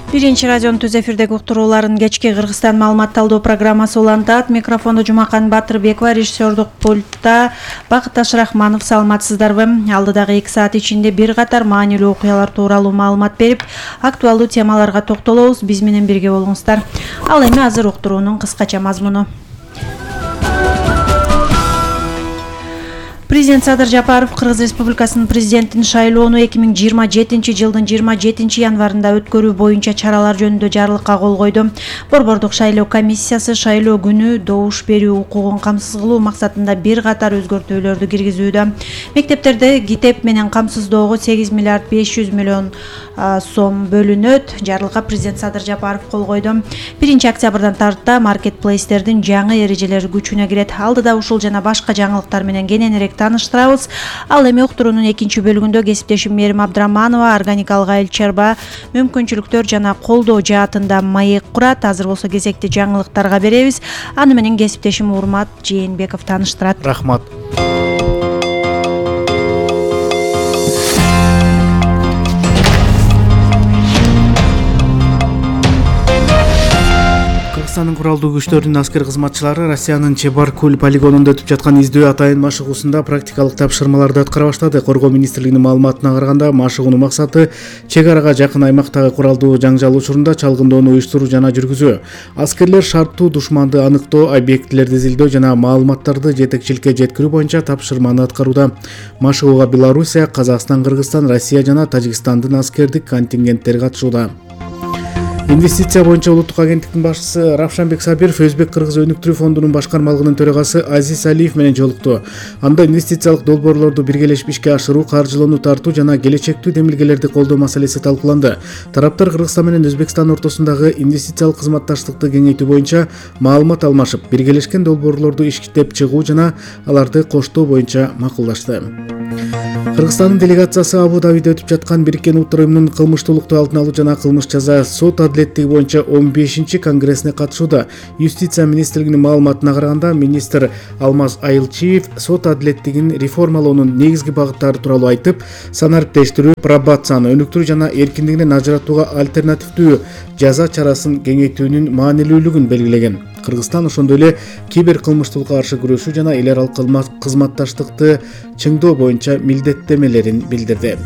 Биринчи радионун түз эфирдеги уктурууларын кечки Кыргызстан маалымат талдоо программасы улантат. Микрофондо Жумакан Батырбекова, режиссердук пультта Бакыт Ашрахманов. Саламатсыздарбы? Алдыдагы 2 саат ичинде бир катар маанилүү окуялар тууралуу маалымат берип, актуалдуу темаларга токтолобуз. Биз менен бирге болуңуздар. Ал эми азыр уктуруунун кыскача мазмуну. Президент Садыр Жапаров Кыргыз Республикасынын президентин шайлоону 2027-жылдын 27 январында өткөрүү боюнча чаралар жөнүндө жарлыкка кол койду. Борбордук шайлоо комиссиясы шайлоо күнү добуш берүү укугун камсыз кылуу максатында бир катар өзгөртүүлөрдү киргизүүдө. Мектептерде китеп менен камсыздоого 8 миллиард 500 миллион сом бөлүнөт. Жарлыкка президент Садыр Жапаров кол койду. 1 октябрдан тарта маркетплейстердин жаңы эрежелери күчүнө кирет. Алдыда ушул жана башка жаңылыктар менен кененирээк таныштырабыз. Ал эми уктуруунун экинчи бөлүгүндө кесиптешим Мерим Абдраманова органикалык айыл чарба мүмкүнчүлүктөр жана колдоо жаатында маек курат. Азыр болсо кезекти жаңылыктарга беребиз. Аны менен кесиптешим Урмат Жээнбеков тааныштырат. Рахмат. Кыргызстандын куралдуу күчтөрүнүн аскер кызматчылары Россиянын Чебаркуль полигонунда өтүп жаткан издөө атайын машыгуусунда практикалык тапшырмаларды аткара баштады. Коргоо министрлигинин маалыматына караганда, машыгуунун максаты чек арага жакын аймактагы куралдуу жаңжал учурунда чалгындоону уюштуруу жана жүргүзүү. Аскерлер шарттуу душманды аныктоо, объектилерди изилдөө жана маалыматтарды жетекчиликке жеткирүү боюнча тапшырманы аткарууда. Машыгууга Белоруссия, Казакстан, Кыргызстан, Россия жана Тажикстандын аскердик контингенттери катышууда. Инвестиция боюнча улуттук агенттиктин башчысы Равшанбек Сабиров Өзбек Кыргыз өнүктүрүү фондунун башкармалыгынын төрагасы Азиз Алиев менен жолукту. Анда инвестициялык долбоорлорду биргелешип ишке ашыруу, каржылоону тартуу жана келечектүү демилгелерди колдоо маселеси талкууланды. Тараптар Кыргызстан менен Өзбекстан ортосундагы инвестициялык кызматташтыкты кеңейтүү боюнча маалымат алмашып, биргелешкен долбоорлорду иштеп чыгуу жана аларды коштоо боюнча макулдашты. Кыргызстандын делегациясы Абу-Дабиде өтүп жаткан Бириккен Улуттар уюмунун кылмыштуулукту алдын алуу жана кылмыш жаза сот адилеттиги боюнча 15-чи конгрессине катышууда. Юстиция министрлигинин маалыматына караганда, министр Алмаз Айылчиев сот адилеттигин реформалоонун негизги багыттары тууралуу айтып, санариптештирүү, пробацияны өнүктүрүү жана эркиндигинен ажыратууга альтернативдүү жаза чарасын кеңейтүүнүн маанилүүлүгүн белгилеген. Кыргызстан ошондой эле кибер кылмыштуулукка каршы күрөшүү жана эл аралык кызматташтыкты чыңдоо боюнча милдеттемелерин билдирди.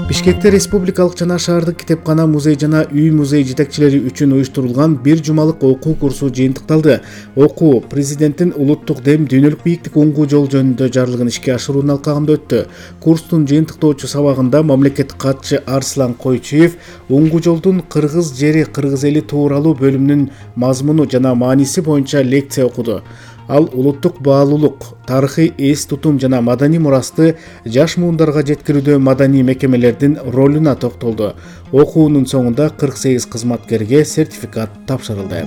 Бишкекте республикалык жана шаардык китепкана, музей жана үй музей жетекчилери үчүн уюштурулган бир жумалык окуу курсу жыйынтыкталды. Окуу президенттин улуттук дем дүйнөлүк бийиктик уңгуу жол жөнүндө жарлыгын ишке ашыруунун алкагында өттү. Курстун жыйынтыктоочу сабагында мамлекеттик катчы Арслан Койчуев уңгуу жолдун кыргыз жери, кыргыз эли тууралуу бөлүмүнүн мазмуну жана мааниси боюнча лекция окуду. Ал улуттук баалуулук, тарыхый эс тутум жана маданий мурасты жаш муундарга жеткирүүдө маданий мекемелердин ролуна токтолду. Окуунун соңунда 48 кызматкерге сертификат тапшырылды.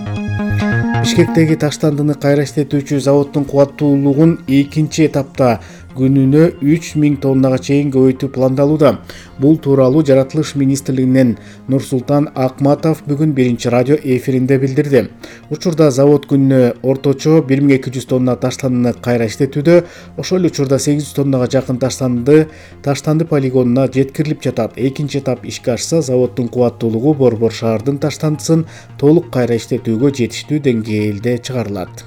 Бишкектеги таштандыны кайра иштетүүчү заводдун кубаттуулугун экинчи этапта күнүнө 3000 тоннага чейин көбөйтүү пландалууда. Бул тууралуу Жаратылыш министрлигинен Нурсултан Акматов бүгүн биринчи радио эфиринде билдирди. Учурда завод күнүнө орточо 1200 тонна таштандыны кайра иштетүүдө, ошол учурда 800 тоннага жакын таштанды полигонуна жеткирилип жатат. Экинчи этап ишке ашса, заводдун кубаттуулугу Борбор шаардын таштандысын толук кайра иштетүүгө жетиштүү деңгээлде чыгарылат.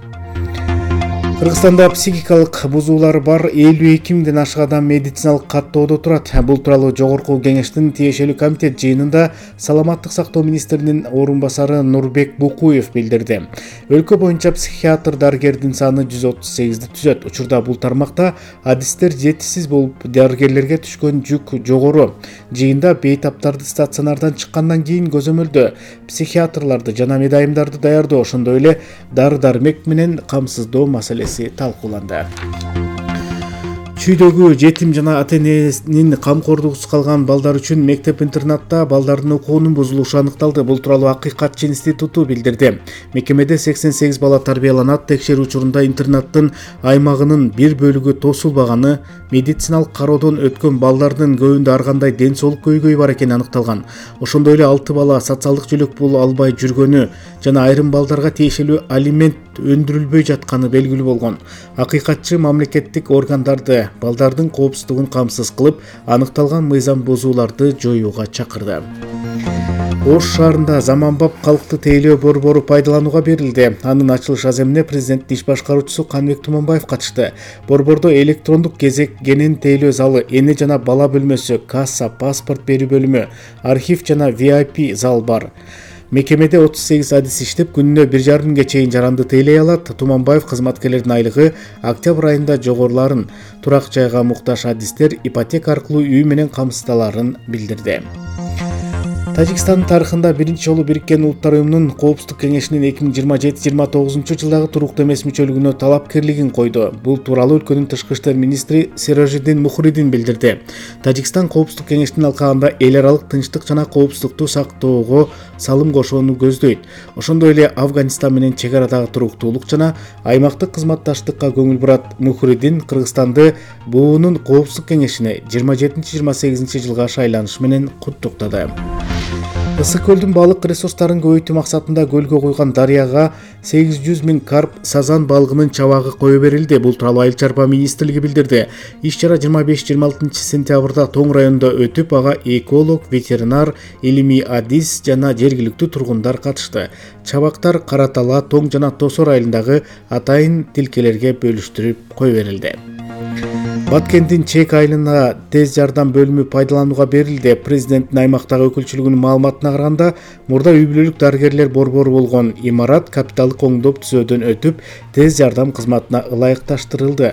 Кыргызстанда психикалык бузуулар бар 52 миңден ашык адам медициналык каттоодо турат. Бул тууралуу Жогорку кеңештин тиешелүү комитет жыйынында саламаттык сактоо министринин орун басары Нурбек Букуев билдирди. Өлкө боюнча психиатр дарыгердин саны 138ди түзөт. Учурда бул тармакта адистер жетишсиз болуп, дарыгерлерге түшкөн жүк жогору. Жыйында бейтаптарды стационардан чыккандан кийин көзөмөлдөө, психиатрларды жана медайымдарды даярдоо, ошондой эле дары-дармек менен камсыздоо маселеси талкууланды. Чүйдөгү жетим жана ата-энесинин камкордугусуз калган балдар үчүн мектеп-интернатта балдардын окуунун бузулушу аныкталды. Бул тууралуу Акыйкатчы институту билдирди. Мекемеде 88 бала тарбияланат. Текшерүү учурунда интернаттын аймагынын бир бөлүгү тосулбаганы, медициналык кароодон өткөн балдардын көбүндө ар кандай ден соолук көйгөйү бар экени аныкталган. Ошондой эле 6 бала социалдык жөлөк пул албай жүргөнү жана айрым балдарга тиешелүү алимент өндүрүлбөй жатканы белгилүү болгон. Акыйкатчы мамлекеттик органдарды балдардын коопсуздугун камсыз кылып, аныкталган мыйзам бузууларды жоюуга чакырды. Ош шаарында заманбап калкты тейлөө борбору пайдаланууга берилди. Анын ачылыш аземине президенттин иш башкаруучусу Каныбек Туманбаев катышты. Борбордо электрондук кезек кенен тейлөө залы, эне жана бала бөлмөсү, касса, паспорт берүү бөлүмү, архив жана VIP зал бар. Мекемеде 38 адис иштеп, күнүнө 1,5 миңге чейин жаранды тейлей алат. Туманбаев кызматкерлердин айлыгы октябрь айында жогоруларын, турак жайга муктаж адистер ипотека аркылуу үй менен камсыздаларын билдирди. Тажикстандын тарыхында биринчи жолу Бириккен Улуттар Уюмунун Коопсуздук кеңешинин 2027-29 жылдагы туруктуу эмес мүчөлүгүнө талапкерлигин койду. Бул тууралуу өлкөнүн тышкы иштер министри Сиражиддин Мухридин билдирди. Тажикстан Коопсуздук кеңешинин алкагында эл аралык тынчтык жана коопсуздукту сактоого салым кошууну көздөйт. Ошондой эле Афганистан менен чек арадагы туруктуулук жана аймактык кызматташтыкка көңүл бурат. Мухридин Кыргызстанды буунун Коопсуздук кеңешине 27-28 жылга шайланыш менен куттуктады. Ысык көлдүн балык ресурстарын көбөйтүү максатында көлгө куйган дарыяга 800 миң карп сазан балыгынын чабагы кое берилди. Бул тууралуу Айыл чарба министрлиги билдирди. Иш-чара 25-26 сентябрда Тоң районунда өтүп, ага эколог, ветеринар, илимий адис жана жергиликтүү тургундар катышты. Чабактар Кара Тала, Тоң жана Тосор айылындагы атайын тилкелерге бөлүштүрүп кое берилди. Баткендин Чек айылына тез жардам бөлүмү пайдаланууга берилди. Президенттин аймактагы өкүлчүлүгүнүн маалыматына караганда, мурда үй бүлөлүк дарыгерлер борбору болгон имарат капиталдык оңдоп түзөөдөн өтүп, тез жардам кызматына ылайыкташтырылды.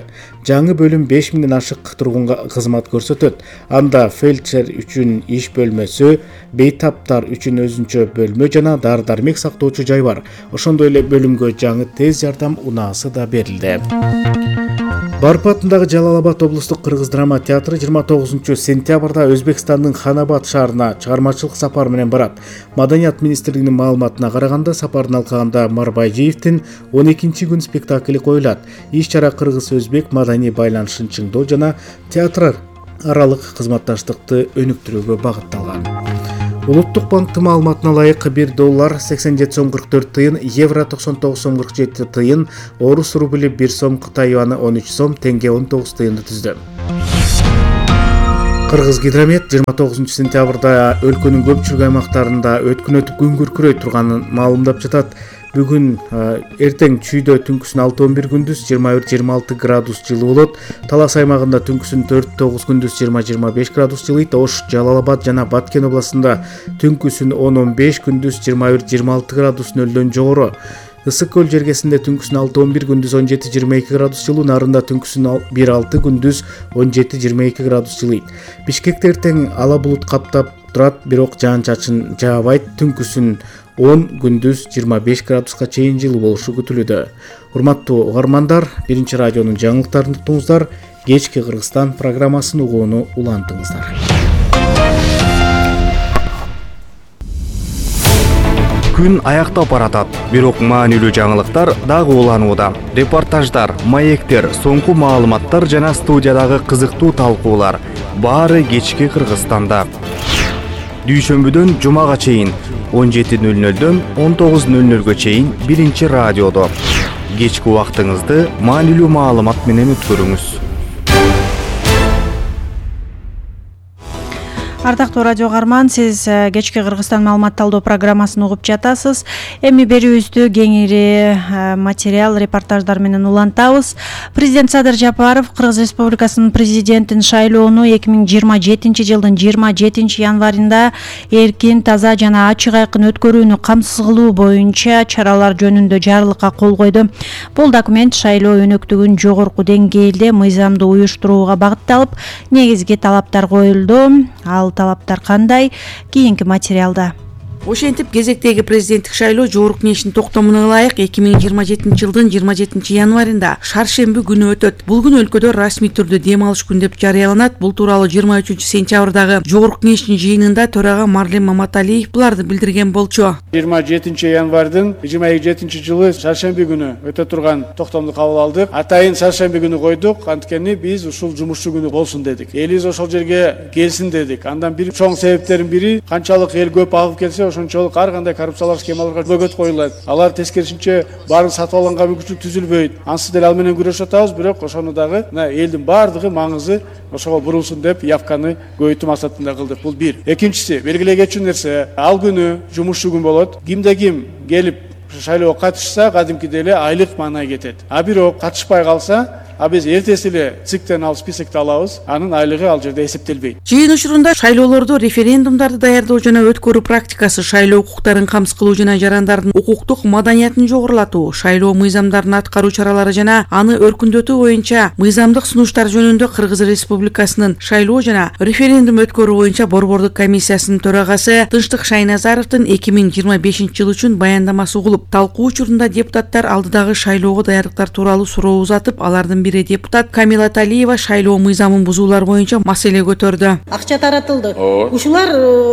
Жаңы бөлүм 5 миңден ашык тургунга кызмат көрсөтөт. Анда фельдшер үчүн иш бөлмөсү, бейтаптар үчүн өзүнчө бөлмө жана дары-дармек сактоочу жай бар. Ошондой эле бөлүмгө жаңы тез жардам унаасы да берилди. Барпы атындагы Жалал-Абад облустук кыргыз драма театры 29 сентябрда Өзбекстандын Ханабад шаарына чыгармачылык сапар менен барат. Маданият министрлигинин маалыматына караганда, сапардын алкагында Марбайжиевдин 12 күн спектакли коюлат. Иш-чара кыргыз-өзбек маданий байланышын чыңдоо жана театр аралык кызматташтыкты өнүктүрүүгө багытталган. Улуттук банктын маалыматына ылайык $1 87 сом 44 тыйын, евро 99 сом 47 тыйын, орус рубли 1 сом, Кытай юаны 13 сом, тенге 19 тыйынды түздү. Кыргыз гидромет 29 сентябрда өлкөнүн көпчүлүк аймактарында өткүн өтүп күн күркүрөй турганын маалымдап жатат. Бүгүн эртең чүйдө түнкүсүн 6-11 күндүз 21-26 градус жылуу болот. Талас аймагында түнкүсүн 4-9 күндүз 20-25 градус жылыйт. Ош, Жалал-Абад жана Баткен областында түнкүсүн 10-15 күндүз 21-26 градус нөлдөн жогору. Ысык көл жергесинде түнкүсүн 6-11 күндүз 17-22 градус жылуу, нарында түнкүсүн 1-6 күндүз 17-22 градус жылыйт. Бишкекте эртең ала булут каптап турат, бирок жаан-чачын жаабайт. Түнкүсүн 10 күндүз 25 градуска чейин жылуу болушу күтүлүүдө. Урматтуу угармандар, биринчи радионун жаңылыктарын уктуңуздар. Кечки Кыргызстан программасын угууну улантыңыздар. Күн аяктап баратат, бирок маанилүү жаңылыктар дагы уланууда. Репортаждар, маектер, соңку маалыматтар жана студиядагы кызыктуу талкуулар баары кечки Кыргызстанда. Дүйшөмбүдөн жумага чейин 17:00дөн 19:00га чейин биринчи радиодо. Кечки убактыңызды маанилүү маалымат менен өткөрүңүз. Ардактуу радио угарман, сиз кечки Кыргызстан маалымат талдоо программасын угуп жатасыз. Эми берүүбүздү кеңири материал, репортаждар менен улантабыз. Президент Садыр Жапаров Кыргыз Республикасынын президентин шайлоону 2027 жылдын 27 январында эркин, таза жана ачык айкын өткөрүүнү камсыз кылуу боюнча чаралар жөнүндө жарлыкка кол койду. Бул документ шайлоо өнөктүгүн жогорку деңгээлде мыйзамдуу уюштурууга багытталып, негизги талаптар коюлду. Ал талаптар кандай? Кийинки материалда. Ошентип кезектеги президенттик шайлоо жогорку кеңештин токтомуна ылайык 2027 жылдын 27 январында шаршемби күнү өтөт. Бул күн өлкөдө расмий түрдө дем алыш күн деп жарыяланат. Бул тууралуу 23 сентябрдагы жогорку кеңештин жыйынында төрага Марлен Маматалиев буларды билдирген болчу. 27 январдын 2027 жылы шаршемби күнү өтө турган токтомду кабыл алдык. Атайын шаршемби күнү койдук, анткени биз ушул жумушчу күнү болсун дедик. Элибиз ошол жерге келсин дедик. Андан бир чоң себептердин бири канчалык эл көп агып келсе ошончолук ар кандай коррупциялык схемаларга бөгөт коюлат. Алар тескерисинче баарын сатып алганга мүмкүнчүлүк түзүлбөйт. Ансыз деле ал менен күрөшүп атабыз, бирок ошону дагы элдин баардыгы маңызы ошого бурулсун деп явканы көбөйтүү максатында кылдык. Бул бир. Экинчиси, белгилей кетчү нерсе, ал күнү жумушчу күн болот. Кимде ким келип шайлоого катышса, кадимкидей эле айлык маанай кетет. А бирок катышпай калса, биз эртеси эле ЦИКтен ал списокто алабыз, анын айлыгы ал жерде эсептелбейт. Жыйын учурунда шайлоолорду, референдумдарды даярдоо жана өткөрүү практикасы, шайлоо укуктарын камсыз кылуу жана жарандардын укуктук маданиятын жогорулатуу, шайлоо мыйзамдарын аткаруу чаралары жана аны өркүндөтүү боюнча мыйзамдык сунуштар жөнүндө Кыргыз Республикасынын шайлоо жана референдум өткөрүү боюнча Борбордук комиссиясынын төрагасы Тынчтык Шайназаровдун 2025 жыл үчүн баяндамасы угулуп, талкуу учурунда депутаттар алдыдагы шайлоого даярдыктар тууралуу суроо узатып, алардын бири депутат Камила Талиева шайлоо мыйзамын бузуулар боюнча маселе көтөрдү. Акча таратылды. Ушулар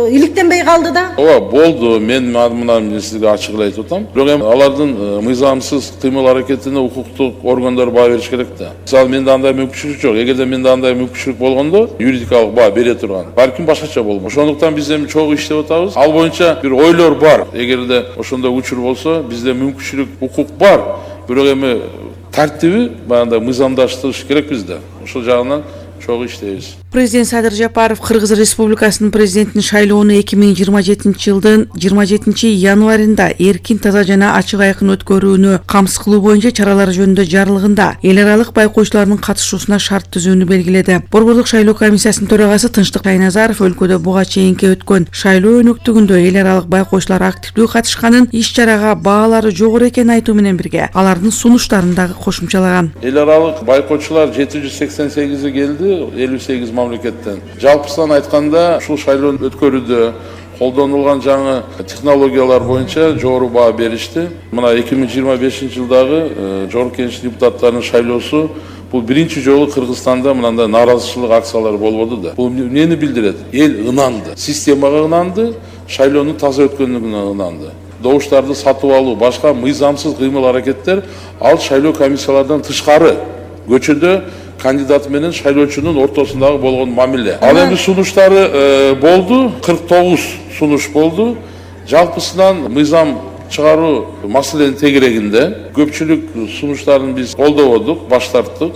иликтенбей калды да? Ооба, болду. Мен мына сизге ачык эле айтып атам. Бирок эми алардын мыйзамсыз кыймыл аракетине укуктук органдар баа бериш керек да. Мисалы менде андай мүмкүнчүлүк жок. Эгерде менде андай мүмкүнчүлүк болгондо, юридикалык баа бере турган. Балким башкача болмок. Ошондуктан биз эми чогуу иштеп атабыз. Ал боюнча бир ойлор бар. Эгерде ошондой учур болсо, бизде мүмкүнчүлүк, укук бар. Бирок эми тартиби баягындай мыйзамдаштырыш керек бизде. Ошол жагынан чогуу иштейбиз. Президент Садыр Жапаров Кыргыз Республикасынын президентин шайлоону 2027 жылдын 27 январында эркин, таза жана ачык айкын өткөрүүнү камсыз кылуу боюнча чаралар жөнүндө жарлыгында эл аралык байкоочулардын катышуусуна шарт түзүүнү белгиледи. Борбордук шайлоо комиссиясынын төрагасы Тынчтык Шайназаров өлкөдө буга чейинки өткөн шайлоо өнөктүгүндө эл аралык байкоочулар активдүү катышканын, иш-чарага баалары жогору экенин айтуу менен бирге алардын сунуштарын дагы кошумчалаган. Эл аралык байкоочулар 788 келди, 58 мамлекеттен. Жалпысынан айтканда, ушул шайлоону өткөрүүдө колдонулган жаңы технологиялар боюнча жогору баа беришти. Мына 2025 жылдагы Жогорку Кеңеш депутаттарынын шайлоосу бул биринчи жолу Кыргызстанда мындай нааразычылык акциялары болбоду да. Бул эмнени билдирет? Эл ынанды, системага ынанды, шайлоонун таза өткөнүнө ынанды. Добуштарды сатып алуу, башка мыйзамсыз кыймыл аракеттер ал шайлоо комиссиялардан тышкары көчөдө кандидат менен шайлоочунун ортосундагы болгон мамиле. Ал эми сунуштары болду, 49 сунуш болду. Жалпысынан мыйзам чыгаруу маселенин тегерегинде көпчүлүк сунуштарын биз колдободук, баш тарттык.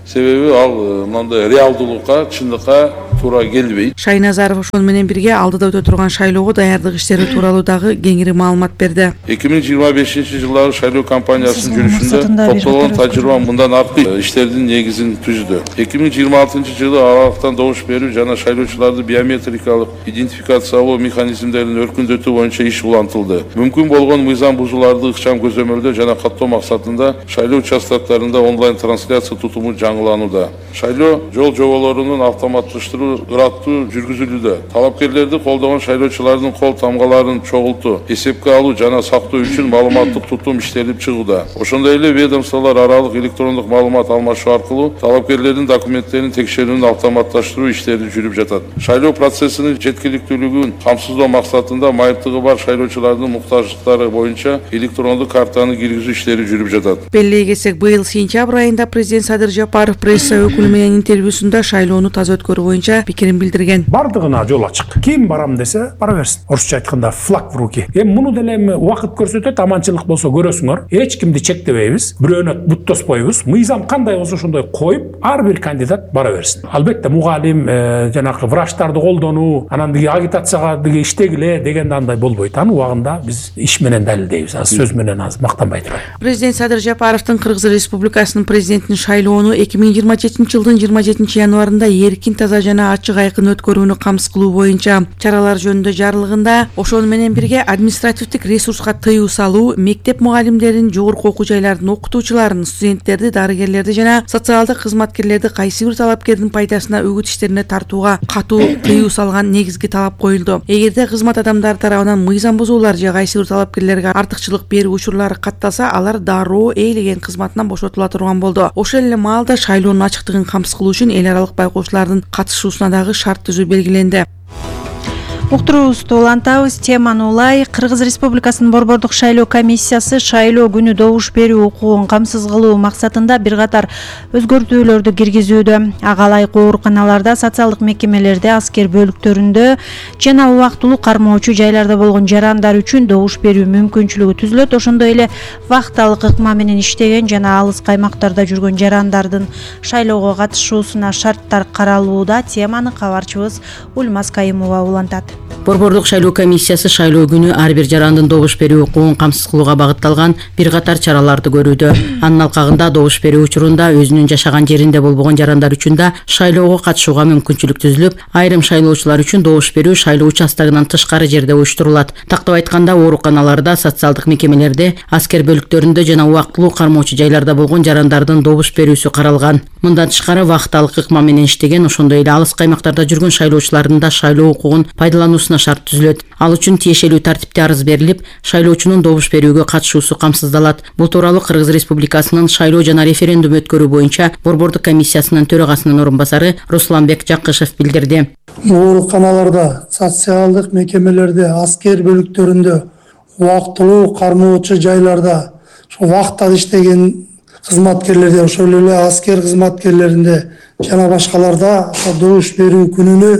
Себеби ал мындай реалдуулукка, чындыкка туура келбейт. Шайназаров ошол менен бирге алдыда өтө турган шайлоого даярдык иштери тууралуу дагы кеңири маалымат берди. 2025 жылдагы шайлоо кампаниясынын жүрүшүндө топтолгон тажрыйба мындан аркы иштердин негизин түздү. 2026 жылы аралыктан добуш берүү жана шайлоочуларды биометрикалык идентификациялоо механизмдерин өркүндөтүү боюнча иш улантылды. Мүмкүн болгон мыйзам бузууларды ыкчам көзөмөлдөө жана каттоо максатында шайлоо участоктарында онлайн трансляция тутуму жаңыланууда. Шайлоо жол жоболорунун автоматташтыруу ыраттуу жүргүзүлүүдө. Талапкерлерди колдогон шайлоочулардын кол тамгаларын чогултуу, эсепке алуу жана сактоо үчүн маалыматтык тутум иштелип чыгууда. Ошондой эле ведомстволор аралык электрондук маалымат алмашуу аркылуу талапкерлердин документтерин текшерүүнүн автоматташтыруу иштери жүрүп жатат. Шайлоо процессинин жеткиликтүүлүгүн камсыздоо максатында майыптыгы бар шайлоочулардын муктаждыктары боюнча электрондук картаны киргизүү иштери жүрүп жатат. Белгилей кетсек, быйыл сентябрь айында президент Садыр Жапаров пресса өкүлү менен интервьюсунда шайлоону таза өткөрүү боюнча пикирин билдирген. Бардыгына жол ачык. Ким барам десе, бара берсин. Орусча айтканда флаг в руки. Муну деле убакыт көрсөтөт, аманчылык болсо көрөсүңөр. Эч кимди чектебейбиз, бирөөнө буттоспойбуз. Мыйзам кандай болсо ошондой коюп, ар бир кандидат бара берсин. Албетте мугалим, жанагы врачтарды колдонуу, анан деги агитацияга деги иштегиле дегенде андай болбойт. Анын убагында биз иш менен далилдейбиз. Сөз менен аз мактанбай турайын. Президент Садыр Жапаровдун Кыргыз Республикасынын президентинин шайлоону 2027 жылдын 27 январында эркин, таза жана ачык айкын өткөрүүнү камсыз кылуу боюнча чаралар жөнүндө жарлыгында ошону менен бирге административдик ресурска тыюу салуу, мектеп мугалимдерин, жогорку окуу жайлардын окутуучуларын, студенттерди, дарыгерлерди жана социалдык кызматкерлерди кайсы бир талапкердин пайдасына үгүт иштерине тартууга катуу тыюу салган негизги талап коюлду. Эгерде кызмат адамдары тарабынан мыйзам бузуулар же кайсы бир талапкерлерге артыкчылык берүү учурлары катталса, алар дароо ээлеген кызматынан бошотула турган болду. Ошол эле маалда шайлоонун ачыктыгын камсыз кылуу үчүн эл аралык байкоочулардын катышуусуна дагы шарт түзүү белгиленди. Уктуруубузду улантабыз. Теманы улай. Кыргыз Республикасынын Борбордук шайлоо комиссиясы шайлоо күнү добуш берүү укугун камсыз кылуу максатында бир катар өзгөртүүлөрдү киргизүүдө. Ага ылайык ооруканаларда, социалдык мекемелерде, аскер бөлүктөрүндө жана убактылуу кармоочу жайларда болгон жарандар үчүн добуш берүү мүмкүнчүлүгү түзүлөт. Ошондой эле вакталык ыкма менен иштеген жана алыс каймактарда жүргөн жарандардын шайлоого катышуусуна шарттар каралууда. Теманы кабарчыбыз Ульмаз Кайымова улантат. Борбордук шайлоо комиссиясы шайлоо күнү ар бир жарандын добуш берүү укугун камсыз кылууга багытталган бир катар чараларды көрүүдө. Анын алкагында добуш берүү учурунда өзүнүн жашаган жеринде болбогон жарандар үчүн да шайлоого катышууга мүмкүнчүлүк түзүлүп, айрым шайлоочулар үчүн добуш берүү шайлоо участогунан тышкары жерде уюштурулат. Тактап айтканда, ооруканаларда, социалдык мекемелерде, аскер бөлүктөрүндө жана убактылуу кармоочу жайларда болгон жарандардын добуш берүүсү каралган. Мындан тышкары вакталык ыкма менен иштеген, ошондой эле алыс каймактарда жүргөн шайлоочулардын да шайлоо укугун пайдалануусуна шарт түзүлөт. Ал үчүн тиешелүү тартипте арыз берилип, шайлоочунун добуш берүүгө катышуусу камсыздалат. Бул тууралуу Кыргыз Республикасынын шайлоо жана референдум өткөрүү боюнча Борбордук комиссиясынын төрагасынын орун басары Русланбек Жакышев билдирди. Ооруканаларда, социалдык мекемелерде, аскер бөлүктөрүндө, убактылуу кармоочу жайларда, вактада иштеген кызматкерлерде, ошол эле аскер кызматкерлеринде жана башкаларда добуш берүү күнүнө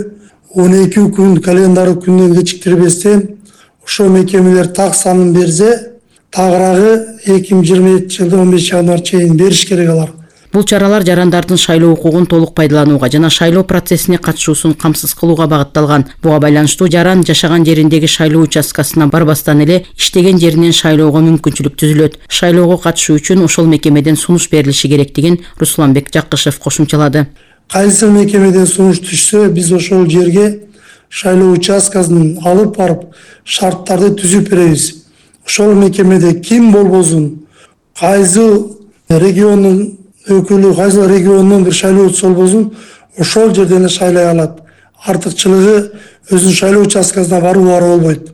12 күн календарь күндөн кечиктирбестен ошол мекемелер так санын берсе, тагыраагы 2027 жылдын 15 январь чейин бериш керек алар. Бул чаралар жарандардын шайлоо укугун толук пайдаланууга жана шайлоо процессине катышуусун камсыз кылууга багытталган. Буга байланыштуу жаран жашаган жериндеги шайлоо участкасына барбастан эле иштеген жеринен шайлоого мүмкүнчүлүк түзүлөт. Шайлоого катышуу үчүн ошол мекемеден сунуш берилиши керектигин Русланбек Жакышев кошумчалады. Кайсы мекемеден сунуш түшсө, биз ошол жерге шайлоо участкасын алып барып, шарттарды түзүп беребиз. Ошол мекемеде ким болбосун, кайсы региондун өкүлү, кайсы региондун бир шайлоочусу болбосун, ошол жерден шайлай алат. Артыкчылыгы өзүнүн шайлоо участкасына баруу болбойт.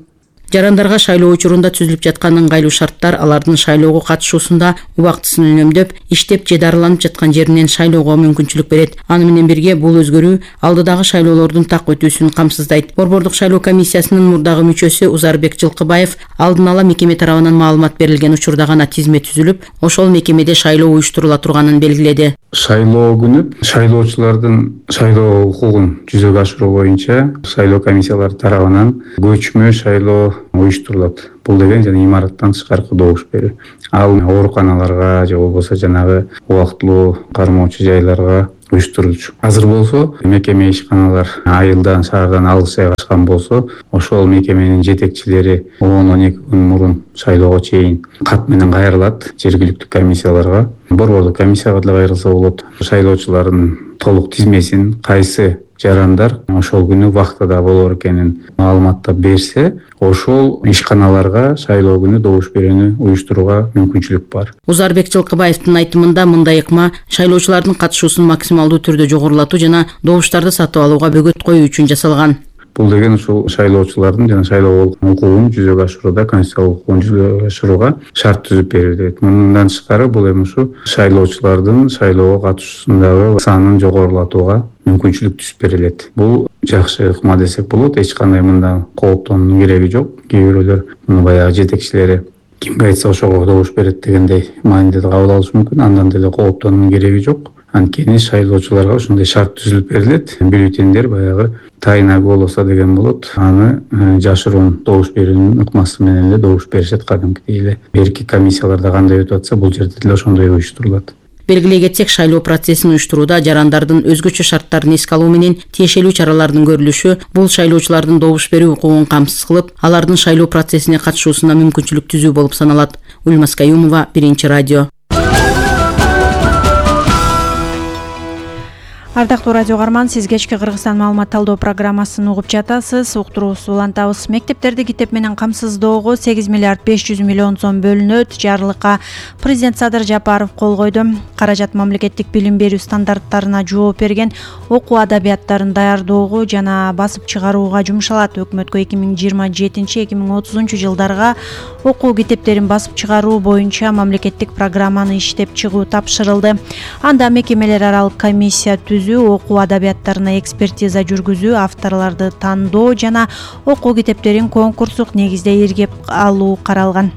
Жарандарга шайлоо учурунда түзүлүп жаткан ыңгайлуу шарттар алардын шайлоого катышуусунда убактысын үнөмдөп, иштеп же дарыланып жаткан жеринен шайлоого мүмкүнчүлүк берет. Аны менен бирге бул өзгөрүү алдыдагы шайлоолордун так өтүүсүн камсыздайт. Борбордук шайлоо комиссиясынын мурдагы мүчөсү Узарбек Жылкыбаев алдын ала мекеме тарабынан маалымат берилген учурда гана тизме түзүлүп, ошол мекемеде шайлоо уюштурула турганын белгиледи. Шайлоо күнү шайлоочулардын шайлоо укугун жүзөгө ашыруу боюнча шайлоо комиссиялары тарабынан көчмө шайлоо уюштурулат. Бул деген жана имараттан тышкаркы добуш берүү. Ал ооруканаларга же болбосо жанагы убактылуу кармоочу жайларга уюштурулчу. Азыр болсо мекеме ишканалар айылдан, шаардан алыс жайгашкан болсо, ошол мекеменин жетекчилери 10-12 күн мурун шайлоого чейин кат менен кайрылат жергиликтүү комиссияларга. Борбордук комиссияга деле кайрылса болот. Шайлоочулардын толук тизмесин кайсы жарандар ошол күнү вактада болор экенин маалыматтап берсе, ошол ишканаларга шайлоо күнү добуш берүүнү уюштурууга мүмкүнчүлүк бар. Узарбек Жылкыбаевдин айтымында мындай ыкма шайлоочулардын катышуусун максималдуу түрдө жогорулатуу жана добуштарды сатып алууга бөгөт коюу үчүн жасалган. Бул деген ушул шайлоочулардын жана шайлоо укугун жүзөгө ашырууда, конституциялык укугун жүзөгө ашырууга шарт түзүп берилди. Мындан тышкары бул эми ушу шайлоочулардын шайлоого катышуусундагы санын жогорулатууга мүмкүнчүлүк түзүп берилет. Бул жакшы ыкма десек болот. Эч кандай мында кооптоонун кереги жок. Кээ бирөөлөр муну баягы жетекчилери кимге айтса ошого добуш берет дегендей мааниде кабыл алышы мүмкүн. Андан деле кооптоонун кереги жок. Анткени шайлоочуларга ушундай шарт түзүлүп берилет. Бюллетендер баягы тайна голоса деген болот. Аны жашыруун добуш берүүнүн ыкмасы менен эле добуш беришет кадимкидей эле. Берки комиссияларда кандай өтүп атса, бул жерде деле ошондой уюштурулат. Белгилей кетсек, шайлоо процессин уюштурууда жарандардын өзгөчө шарттарын эске алуу менен тиешелүү чаралардын көрүлүшү бул шайлоочулардын добуш берүү укугун камсыз кылып, алардын шайлоо процессине катышуусуна мүмкүнчүлүк түзүү болуп саналат. Ульмаз Кайымова, Биринчи радио. Ардактуу радио каарман, сиз кечки Кыргызстан маалымат талдоо программасын угуп жатасыз. Уктуруубузду улантабыз. Мектептерди китеп менен камсыздоого 8 миллиард 500 миллион сом бөлүнөт. Жарлыкка президент Садыр Жапаров кол койду. Каражат мамлекеттик билим берүү стандарттарына жооп берген окуу адабияттарын даярдоого жана басып чыгарууга жумшалат. Өкмөткө 2027-2030 жылдарга окуу китептерин басып чыгаруу боюнча мамлекеттик программаны иштеп чыгуу тапшырылды. Анда мекемелер аралык комиссия жүргүзүү, окуу адабияттарына экспертиза жүргүзүү, авторлорду тандоо жана окуу китептерин конкурстук негизде иргеп алуу каралган.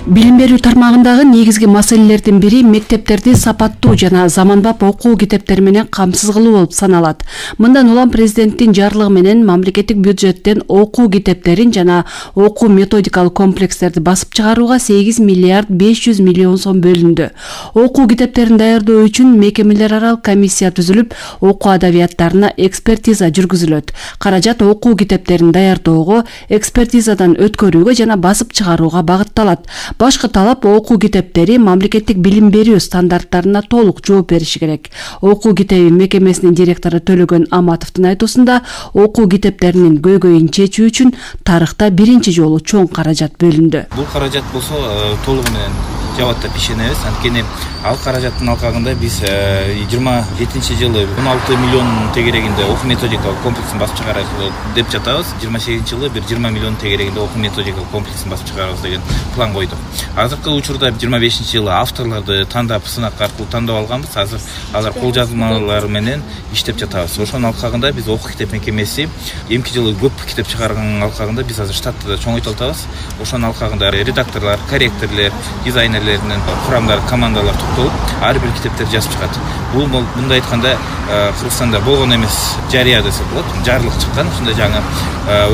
Билим берүү тармагындагы негизги маселелердин бири мектептерди сапаттуу жана заманбап окуу китептери менен камсыз кылуу болуп саналат. Мындан улам президенттин жарлыгы менен мамлекеттик бюджеттен окуу китептерин жана окуу методикалык комплекстерди басып чыгарууга 8 миллиард 500 миллион сом бөлүндү. Окуу китептерин даярдоо үчүн мекемелер аралык комиссия түзүлүп, окуу адабияттарына экспертиза жүргүзүлөт. Каражат окуу китептерин даярдоого, экспертизадан өткөрүүгө жана басып чыгарууга багытталат. Башкы талап окуу китептери мамлекеттик билим берүү стандарттарына толук жооп бериши керек. Окуу китеби мекемесинин директору Төлөгөн Аматовдун айтуусунда, окуу китептеринин көйгөйүн чечүү үчүн тарыхта биринчи жолу чоң каражат бөлүндү. Бул каражат болсо толугу менен жабат деп ишенебиз. Анткени ал каражаттын алкагында биз 27-жылы 16 миллион тегерегинде окуу методикалык комплексин басып чыгарабыз деп жатабыз. 28-жылы бир 20 миллион тегерегинде окуу методикалык комплексин басып чыгарабыз деген план койдук. Азыркы учурда 25-жылы авторлорду тандап, сынак аркылуу тандап алганбыз. Азыр алар кол жазмалары менен иштеп жатабыз. Ошонун алкагында биз окуу китеп мекемеси эмки жылы көп китеп чыгарганын алкагында биз азыр штатты да чоңойтуп атабыз. Ошонун алкагында редакторлор, корректорлор, дизайнерлердин курамдары, командалар топтолуп, ар бир китептерди жазып чыгат. Бул мындай айтканда Кыргызстанда болгон эмес, жарыя десе болот. Жарлык чыккан ушундай жаңы.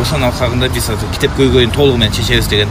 Ошонун алкагында биз азыр китеп көйгөйүн толугу менен чечебиз деген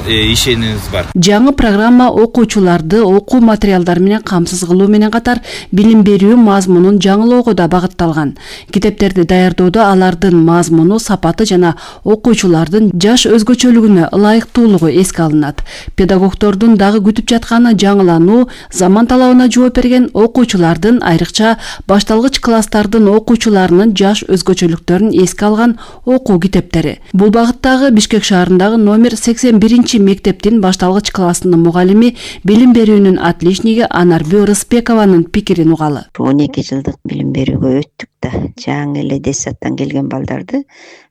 ишенимиз бар. Жаңы программа окуучуларды окуу материалдары менен камсыз кылуу менен катар билим берүү мазмунун жаңылоого да багытталган. Китептерди даярдоодо алардын мазмуну, сапаты жана окуучулардын жаш өзгөчөлүгүнө ылайыктуулугу эске алынат. Педагогдордун дагы күтүп жатканы жаңылануу, заман талабына жооп берген окуучулардын, айрыкча башталгыч класстардын окуучуларынын жаш өзгөчөлүктөрүн эске алган окуу китептери. Бул багыттагы Бишкек шаарындагы номер 81 мектептин башталгыч классынын мугалими, билим берүүнүн отличниги Анарбек Рыспекованын пикирин угалы. 12 жылдык билим берүүгө өттүк да, жаңы эле детсадтан келген балдарды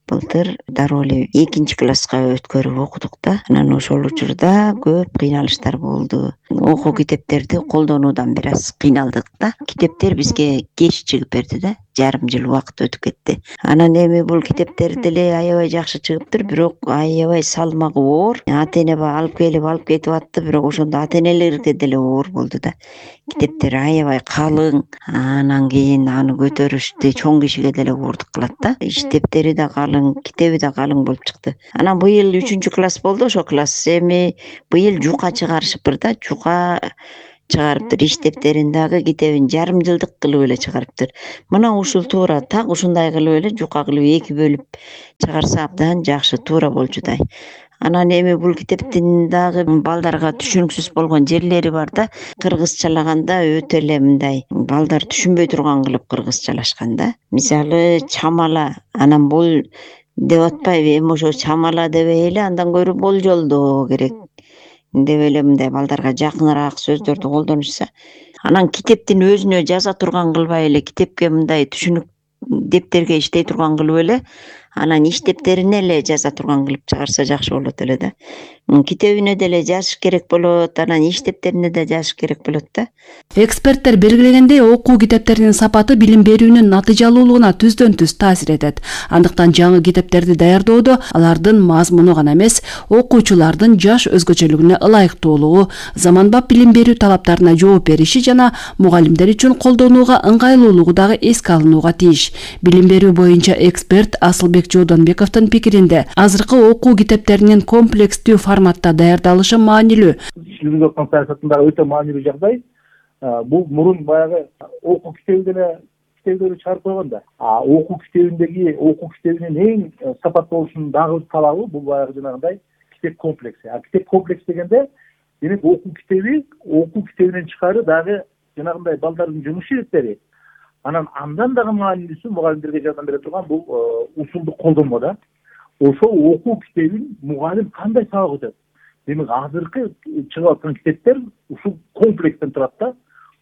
былтыр дароо эле 2 класска өткөрүп окудук да. Анан ошол учурда көп кыйналыштар болду. Окуу китептерди колдонуудан бир аз кыйналдык да. Китептер бизге кеч чыгып берди да. Жарым жыл убакыт өтүп кетти. Анан эми бул китептер деле аябай жакшы чыгыптыр, бирок аябай салмагы оор. Ата эне алып кетип атты, бирок ошондо ата энелерге деле оор болду да. Китептер аябай калың. Анан кийин аны көтөрүштү чоң кишиге деле оордук кылат да. Иштептери да калың, китеби да калың болуп чыкты. Анан быйыл 3-класс болду, ошо класс. Эми быйыл жука чыгарышыптыр да, жука чыгарыптыр. Иштептерин дагы китебин жарым жылдык кылып эле чыгарыптыр. Мына ушул туура так ушундай кылып эле жука кылып 2 бөлүп чыгарса абдан жакшы, туура болчудай. Анан эми бул китептин дагы балдарга түшүнүксүз болгон жерлери бар да. Кыргызчалаганда өтө эле мындай балдар түшүнбөй турган кылып кыргызчалашкан да. Мисалы чамала, анан бул деп атпайбы, эми ошо чамала дебей эле андан көрө болжолдоо керек деп эле мындай балдарга жакыныраак сөздөрдү колдонушса. Анан китептин өзүнө жаза турган кылбай эле, китепке мындай түшүнүк дептерге иштей турган кылып эле, анан иштептерине эле жаза турган кылып чыгарса жакшы болот эле да. Китебине деле жазыш керек болот, анан иштептерине да жазыш керек болот да. Эксперттер белгилегендей, окуу китептеринин сапаты билим берүүнүн натыйжалуулугуна түздөн-түз таасир этет. Андыктан жаңы китептерди даярдоодо алардын мазмуну гана эмес, окуучулардын жаш өзгөчөлүгүнө ылайыктуулугу, заманбап билим берүү талаптарына жооп бериши жана мугалимдер үчүн колдонууга ыңгайлуулугу дагы эске алынууга тийиш. Билим берүү боюнча эксперт Асылбек Жодонбековдун пикиринде, азыркы окуу китептеринин комплекстүү форматта даярдалышы маанилүү. Жүргүзүп аткан саясаттын өтө маанилүү жагдай. Бул мурун баягы окуу китеби деле китептерди чыгарып койгон да. Окуу китебинин эң сапаттуу болушунун дагы бир талабы бул баягы жанагындай китеп комплекси. Китеп комплекс дегенде, демек окуу китебинен тышкары дагы жанагындай балдардын жумуш ириттери. Андан дагы маанилүүсү мугалимдерге жардам бере турган бул усулдук колдонмо да. Ошол окуу китебин мугалим кандай сабак өтөт? Демек азыркы чыгып аткан китептер ушул комплекстен турат да.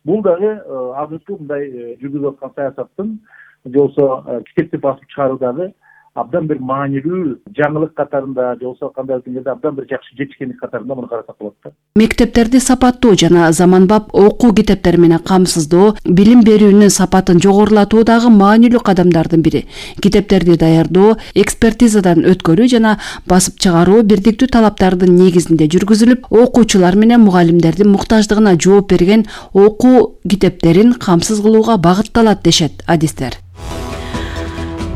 Бул дагы азыркы мындай жүргүзүп аткан саясаттын же болбосо китепти басып чыгаруудагы абдан бир маанилүү жаңылык катарында же болбосо кандайдыр деңгээлде абдан бир жакшы жетишкендик катарында муну карасак болот да. Мектептерди сапаттуу жана заманбап окуу китептери менен камсыздоо билим берүүнүн сапатын жогорулатуу дагы маанилүү кадамдардын бири. Китептерди даярдоо, экспертизадан өткөрүү жана басып чыгаруу бирдиктүү талаптардын негизинде жүргүзүлүп, окуучулар менен мугалимдердин муктаждыгына жооп берген окуу китептерин камсыз кылууга багытталат дешет адистер.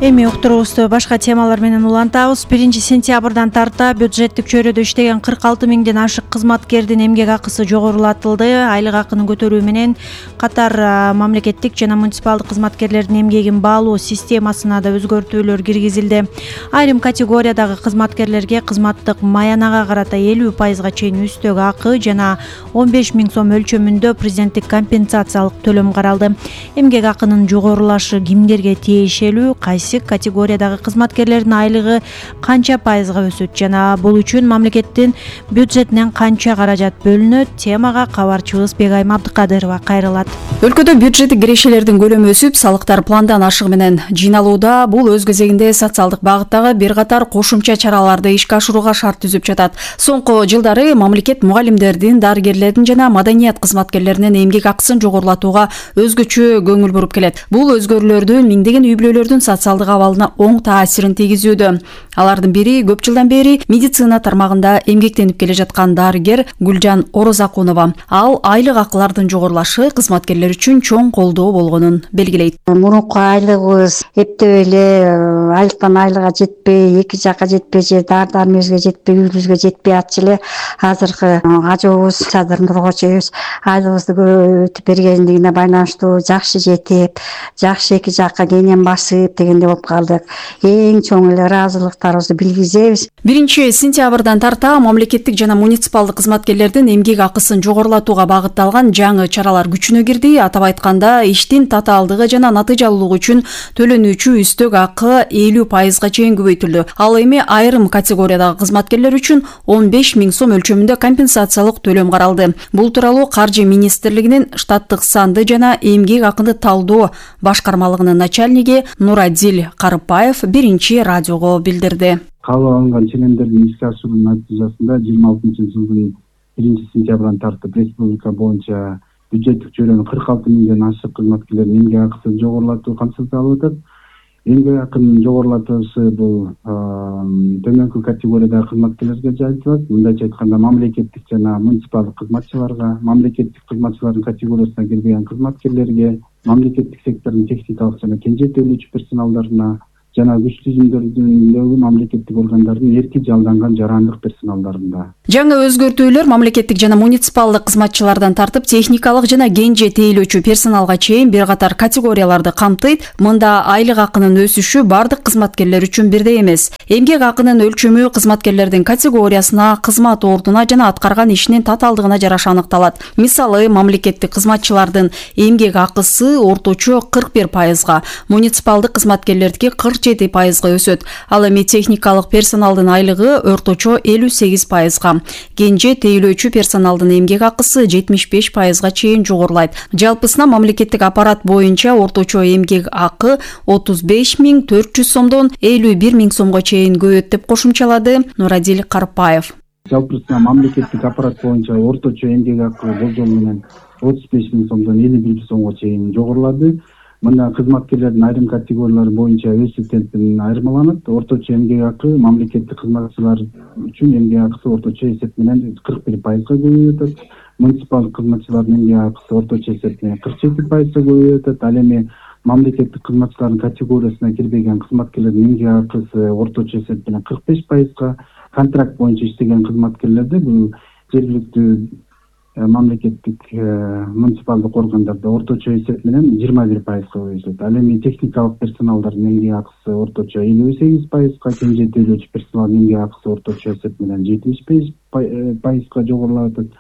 Эми уктуруубузду башка темалар менен улантабыз. 1-сентябрдан тарта бюджеттик чөйрөдө иштеген 46 миңден ашык кызматкердин эмгек акысы жогорулатылды. Айлык акыны көтөрүү менен катар мамлекеттик жана муниципалдык кызматкерлердин эмгегин баалоо системасына да өзгөртүүлөр киргизилди. Айрым категориядагы кызматкерлерге кызматтык маянага карата 50% чейин үстөк акы жана 15 миң сом өлчөмүндө президенттик компенсациялык төлөм каралды. Эмгек акынын жогорулашы кимдерге тиешелүү, кайсы категориядагы кызматкерлердин айлыгы канча пайызга өсөт жана бул үчүн мамлекеттин бюджетинен канча каражат бөлүнөт? Темага кабарчыбыз Бегайым Абдыкадырова кайрылат. Өлкөдө бюджеттик кирешелердин көлөмү өсүп, салыктар пландан ашыгы менен жыйналууда. Бул өз кезегинде социалдык багыттагы бир катар кошумча чараларды ишке ашырууга шарт түзүп жатат. Соңку жылдары мамлекет мугалимдердин, дарыгерлердин жана маданият кызматкерлеринин эмгек акысын жогорулатууга өзгөчө көңүл буруп келет. Бул өзгөрүүлөрдүн миңдеген үй бүлөлөрдүн социалдык абалына оң таасирин тийгизүүдө. Алардын бири көп жылдан бери медицина тармагында эмгектенип келе жаткан дарыгер Гүлжан Орозакунова. Ал айлык акылардын жогорулашы кызматкерлер үчүн чоң колдоо болгонун белгилейт. Мурунку айлыгыбыз эптеп эле айлыктан айлыга жетпей, эки жакка жетпей же дары-дармегибизге жетпей, үйүбүзгө жетпей атчы эле. Азыркы ажообуз Садыр Нуркочоебуз айлыгыбызды көбөйтүп бергендигине байланыштуу жакшы жетип, жакшы эки жакка кенен басып дегенде болуп калдык. Эң чоң эле ыраазылыктарыбызды билгизебиз. 1-сентябрдан тарта мамлекеттик жана муниципалдык кызматкерлердин эмгек акысын жогорулатууга багытталган жаңы чаралар күчүнө кирди. Атап айтканда, иштин татаалдыгы жана натыйжалуулугу үчүн төлөнүүчү үстөк акы 50% чейин көбөйтүлдү. Ал эми айрым категориядагы кызматкерлер үчүн 15 миң сом өлчөмүндө компенсациялык төлөм каралды. Бул тууралуу Каржы министрлигинин штаттык санды жана эмгек акыны талдоо башкармалыгынын начальниги Нурадил Карыпаев 1-радиого билдирди. Кабыл алынган ченемдердин ишке ашыруу натыйжасында 26-жылдын 1-сентябрдан тартып республика боюнча бюджеттик чөйрөнүн 46 миңден ашык кызматкерлердин эмгек акысын жогорулатуу камсыздалып атат. Эмгек акынын жогорулатуусы бул төмөнкү категориядагы кызматкерлерге жайылтылат. Мындайча айтканда, мамлекеттик жана муниципалдык кызматчыларга, мамлекеттик кызматчылардын категориясына кирбеген кызматкерлерге, мамлекеттик сектордун техникалык жана кенже төлөөчү персоналдарына жана күч түзүмдөрүндөгү мамлекеттик органдардын эрки жалданган жарандык персоналдарында. Жаңы өзгөртүүлөр мамлекеттик жана муниципалдык кызматчылардан тартып техникалык жана кенже тейлөөчү персоналга чейин бир катар категорияларды камтыйт. Мында айлык акынын өсүшү бардык кызматкерлер үчүн бирдей эмес. Эмгек акынын өлчөмү кызматкерлердин категориясына, кызмат ордуна жана аткарган ишинин татаалдыгына жараша аныкталат. Мисалы, мамлекеттик кызматчылардын эмгек акысы орточо 41%, муниципалдык кызматкерлердики 47% өсөт. Ал эми техникалык персоналдын айлыгы орточо 58%. Кенже тейлөөчү персоналдын эмгек акысы 75% чейин жогорулайт. Жалпысына мамлекеттик аппарат боюнча орточо эмгек акы 35.400 сомдон 51.000 сомго чейин көбөйөт деп кошумчалады Нурадил Карпаев. Жалпысына мамлекеттик аппарат боюнча орточо эмгек акы болжол менен 35.000 сомдон 51.000 сомго чейин жогорулады. Мында кызматкерлердин айрым категориялары боюнча өсүү темпинен айырмаланат. Орточо эмгек акы мамлекеттик кызматчылар үчүн эмгек акысы орточо эсеп менен 41%га көбөйүп атат. Муниципалдык кызматчылардын эмгек акысы орточо эсеп менен 47%га көбөйүп атат. Ал эми мамлекеттик кызматчылардын категориясына кирбеген кызматкерлердин эмгек акысы орточо эсеп менен 45%га, контракт боюнча иштеген кызматкерлерде бул жергиликтүү мамлекеттик муниципалдык органдарда орточо эсеп менен 21%га өсөт. Ал эми техникалык персоналдардын эмгек акысы орточо 58%га, кенже тейлөөчү персоналдын эмгек акысы орточо эсеп менен 75%га жогорулап атат.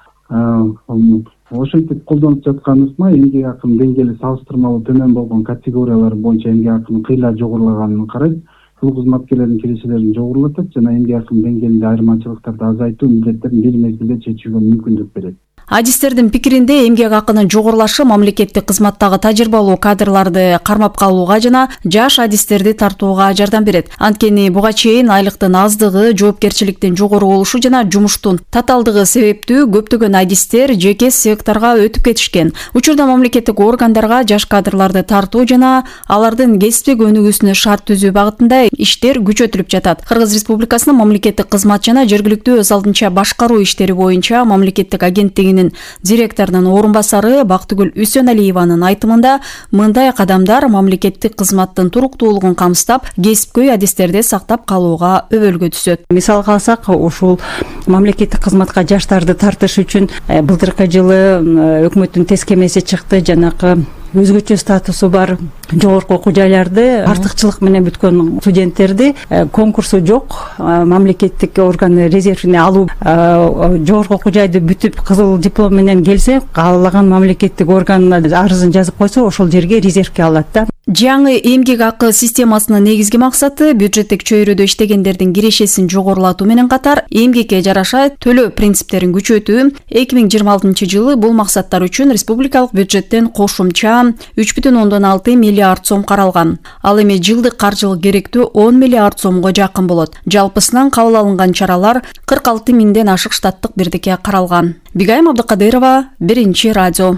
Ошентип колдонуп жаткан ыкма эмгек акынын деңгээли салыштырмалуу төмөн болгон категориялар боюнча эмгек акынын кыйла жогорулаганын карайт. Бул кызматкерлердин кирешелерин жогорулатат жана эмгек акынын деңгээлинде айырмачылыктарды азайтуу милдеттерин бир мезгилде чечүүгө мүмкүндүк берет. Адистердин пикиринде эмгек акынын жогорулашы мамлекеттик кызматтагы тажрыйбалуу кадрларды кармап калууга жана жаш адистерди тартууга жардам берет. Анткени буга чейин айлыктын аздыгы, жоопкерчиликтин жогору болушу жана жумуштун татаалдыгы себептүү көптөгөн адистер жеке секторго өтүп кетишкен. Учурда мамлекеттик органдарга жаш кадрларды тартуу жана алардын кесиптик өнүгүүсүнө шарт түзүү багытында иштер күчөтүлүп жатат. Кыргыз Республикасынын мамлекеттик кызмат жана жергиликтүү өз алдынча башкаруу иштери боюнча мамлекеттик агенттигинин директорунун орун басары Бактыгүл Үсөналиеванын айтымында мындай кадамдар мамлекеттик кызматтын туруктуулугун камсыздап, кесипкөй адистерди сактап калууга өбөлгө түзөт. Мисалга алсак, ушул мамлекеттик кызматка жаштарды тартыш үчүн былтыркы жылы өкмөттүн тез кемеси чыкты. Жанакы өзгөчө статусу бар жогорку окуу жайларды артыкчылык менен бүткөн студенттерди конкурсу жок мамлекеттик орган резервине алуу, жогорку окуу жайды бүтүп кызыл диплом менен келсе, каалаган мамлекеттик органына арызын жазып койсо, ошол жерге резервке алат да. Жаңы эмгек акы системасынын негизги максаты бюджеттик чөйрөдө иштегендердин кирешесин жогорулатуу менен катар эмгекке жараша төлөө принциптерин күчөтүү. 2026 жылы бул максаттар үчүн республикалык бюджеттен кошумча 3,6 миллиард сом каралган. Ал эми жылдык каржылык керектүү 10 миллиард сомго жакын болот. Жалпысынан кабыл алынган чаралар 46 миңден ашык штаттык бирдикке каралган. Бигайым Абдыкадырова, Биринчи радио.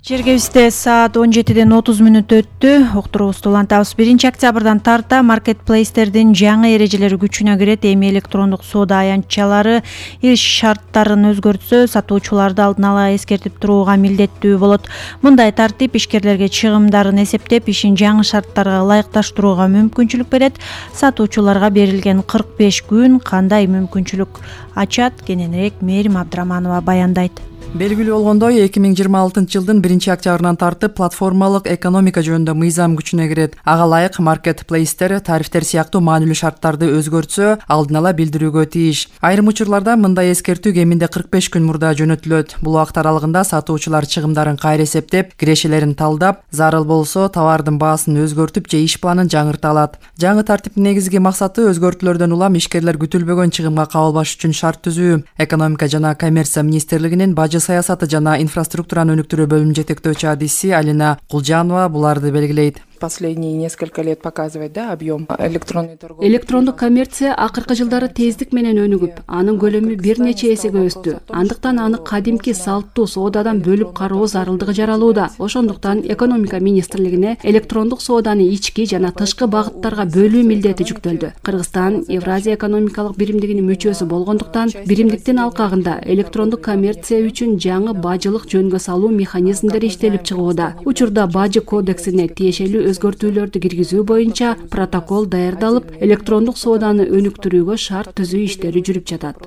Жергебизде саат 17:30 өттү. Уктуруубузду улантабыз. 1 октябрдан тарта маркетплейстердин жаңы эрежелери күчүнө кирет. Эми электрондук соода аянтчалары иш шарттарын өзгөртсө, сатуучуларды алдын ала эскертип турууга милдеттүү болот. Мындай тартип ишкерлерге чыгымдарын эсептеп, ишин жаңы шарттарга ылайыкташтырууга мүмкүнчүлүк берет. Сатуучуларга берилген 45 күн кандай мүмкүнчүлүк ачат? Кененирээк Мээрим Абдыраманова баяндайт. Белгилүү болгондой, 2026 жылдын 1 октябрынан тартып платформалык экономика жөнүндө мыйзам күчүнө кирет. Ага ылайык маркетплейстер тарифтер сыяктуу маанилүү шарттарды өзгөртсө, алдын ала билдирүүгө тийиш. Айрым учурларда мындай эскертүү кеминде 45 күн мурда жөнөтүлөт. Бул убакыт аралыгында сатуучулар чыгымдарын кайра эсептеп, кирешелерин талдап, зарыл болсо товардын баасын өзгөртүп же иш планын жаңырта алат. Жаңы тартиптин негизги максаты өзгөртүүлөрдөн улам ишкерлер күтүлбөгөн чыгымга кабылбаш үчүн шарт түзүү. Экономика жана коммерция министрлигинин бажы саясаты жана инфраструктураны өнүктүрүү бөлүм жетектөөчү адиси Алина Кулжанова буларды белгилейт. Последние несколько лет показывает, да, объем электронной торговли. Электрондук коммерция акыркы жылдары тездик менен өнүгүп, анын көлөмү бир нече эсеге өстү. Андыктан аны кадимки салттуу соодадан бөлүп кароо зарылдыгы жаралууда. Ошондуктан экономика министрлигине электрондук сооданы ички жана тышкы багыттарга бөлүү милдети жүктөлдү. Кыргызстан Евразия экономикалык биримдигинин мүчөсү болгондуктан, биримдиктин алкагында электрондук коммерция үчүн жаңы бажылык жөнгө салуу механизмдери иштелип чыгууда. Учурда бажы кодексине тиешелүү өзгөртүүлөрдү киргизүү боюнча протокол даярдалып, электрондук сооданы өнүктүрүүгө шарт түзүү иштери жүрүп жатат.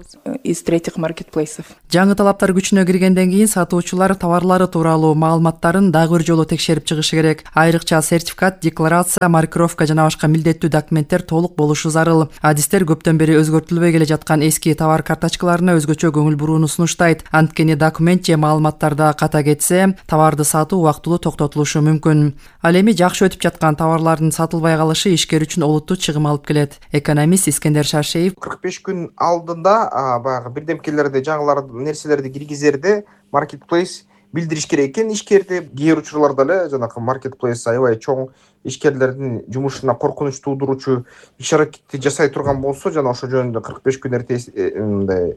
Из третьих маркетплейсов. Жаңы талаптар күчүнө киргенден кийин сатуучулар товарлары тууралуу маалыматтарын дагы бир жолу текшерип чыгышы керек. Айрыкча сертификат, декларация, маркировка жана башка милдеттүү документтер толук болушу зарыл. Адистер көптөн бери өзгөртүлбөй келе жаткан эски товар карточкаларына өзгөчө көңүл бурууну сунуштайт. Анткени документ же маалыматтарда ката кетсе, товарды сатуу убактылуу токтотулушу мүмкүн. Ал эми жакшы өтүп жаткан товарлардын сатылбай калышы ишкер үчүн олуттуу чыгым алып келет. Экономист Искендер Шаршеев 45 күн алдында баягы бирдемкелерди, жаңыларды, нерселерди киргизерде маркетплейс билдириш керек экен ишкерди. Кээ бир учурларда эле жанакы маркетплейс аябай чоң ишкерлердин жумушуна коркунуч туудуруучу иш-аракетти жасай турган болсо, жана ошо жөнүндө 45 күн эрте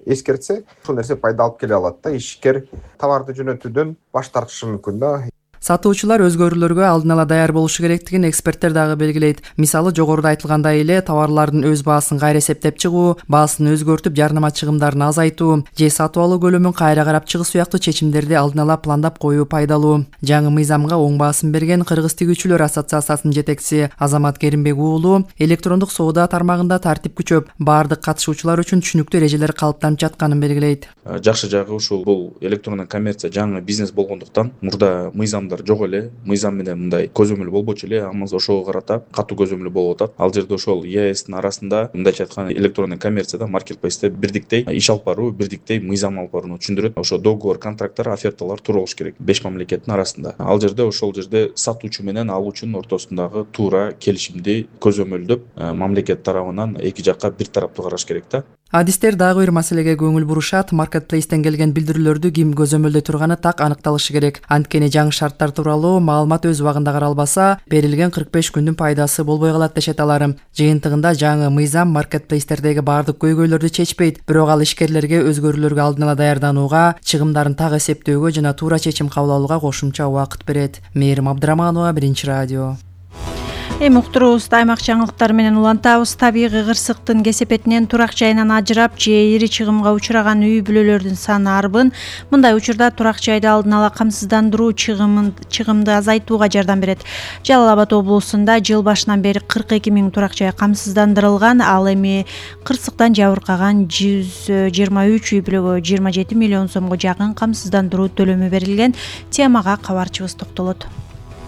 эскертсе, ошол нерсе пайда алып келе алат да. Ишкер товарды жөнөтүүдөн баш тартышы мүмкүн да. Сатуучулар өзгөрүүлөргө алдын ала даяр болушу керектигин эксперттер дагы белгилейт. Мисалы, жогоруда айтылгандай эле товарлардын өз баасын кайра эсептеп чыгуу, баасын өзгөртүп, жарнама чыгымдарын азайтуу же сатып алуу көлөмүн кайра карап чыгуу сыяктуу чечимдерди алдын ала пландап коюу пайдалуу. Жаңы мыйзамга оң баасын берген Кыргыз тигүүчүлөр ассоциациясынын жетекчиси Азамат Керимбек уулу электрондук соода тармагында тартип күчөп, баардык катышуучулар үчүн түшүнүктүү эрежелер калыптанып жатканын белгилейт. Жакшы жагы ушул бул электрондук коммерция жаңы бизнес болгондуктан мурда мыйзам жок эле, мыйзам менен мындай көзөмөл болбочу эле, амма ошого карата катуу көзөмөл болуп атат. Ал жерде ошол ЕАЭСтин арасында мындайча айтканда электрондук коммерцияда маркетплейсте бирдиктей иш алып баруу, бирдиктей мыйзам алып барууну түшүндүрөт. Ошо договор, контракттар, оферталар туура болуш керек 5 мамлекеттин арасында. Ал жерде ошол жерде сатуучу менен алуучунун ортосундагы туура келишимди көзөмөлдөп, мамлекет тарабынан эки жакка бир тараптуу караш керек да. Адистер дагы бир маселеге көңүл бурушат. Маркетплейстен келген билдирүүлөрдү ким көзөмөлдөй турганы так аныкталышы керек. Анткени жаңы шарттар тууралуу маалымат өз убагында каралбаса, берилген 45 күндүн пайдасы болбой калат дешет алар. Жыйынтыгында жаңы мыйзам маркетплейстердеги баардык көйгөйлөрдү чечпейт, бирок ал ишкерлерге өзгөрүүлөргө алдын ала даярданууга, чыгымдарын так эсептөөгө жана туура чечим кабыл алууга кошумча убакыт берет. Мээрим Абдыраманова, Биринчи радио. Уктуруубузду аймак жаңылыктары менен улантабыз. Табигый кырсыктын кесепетинен турак жайынан ажырап же ири чыгымга учураган үй бүлөлөрдүн саны арбын. Мындай учурда турак жайды алдын ала камсыздандыруу чыгымды азайтууга жардам берет. Жалал Абад облусунда жыл башынан бери 42 000 турак жай камсыздандырылган. Ал эми кырсыктан жабыркаган 123 үй бүлөгө 27 миллион сомго жакын камсыздандыруу төлөмү берилген. Темага кабарчыбыз токтолот.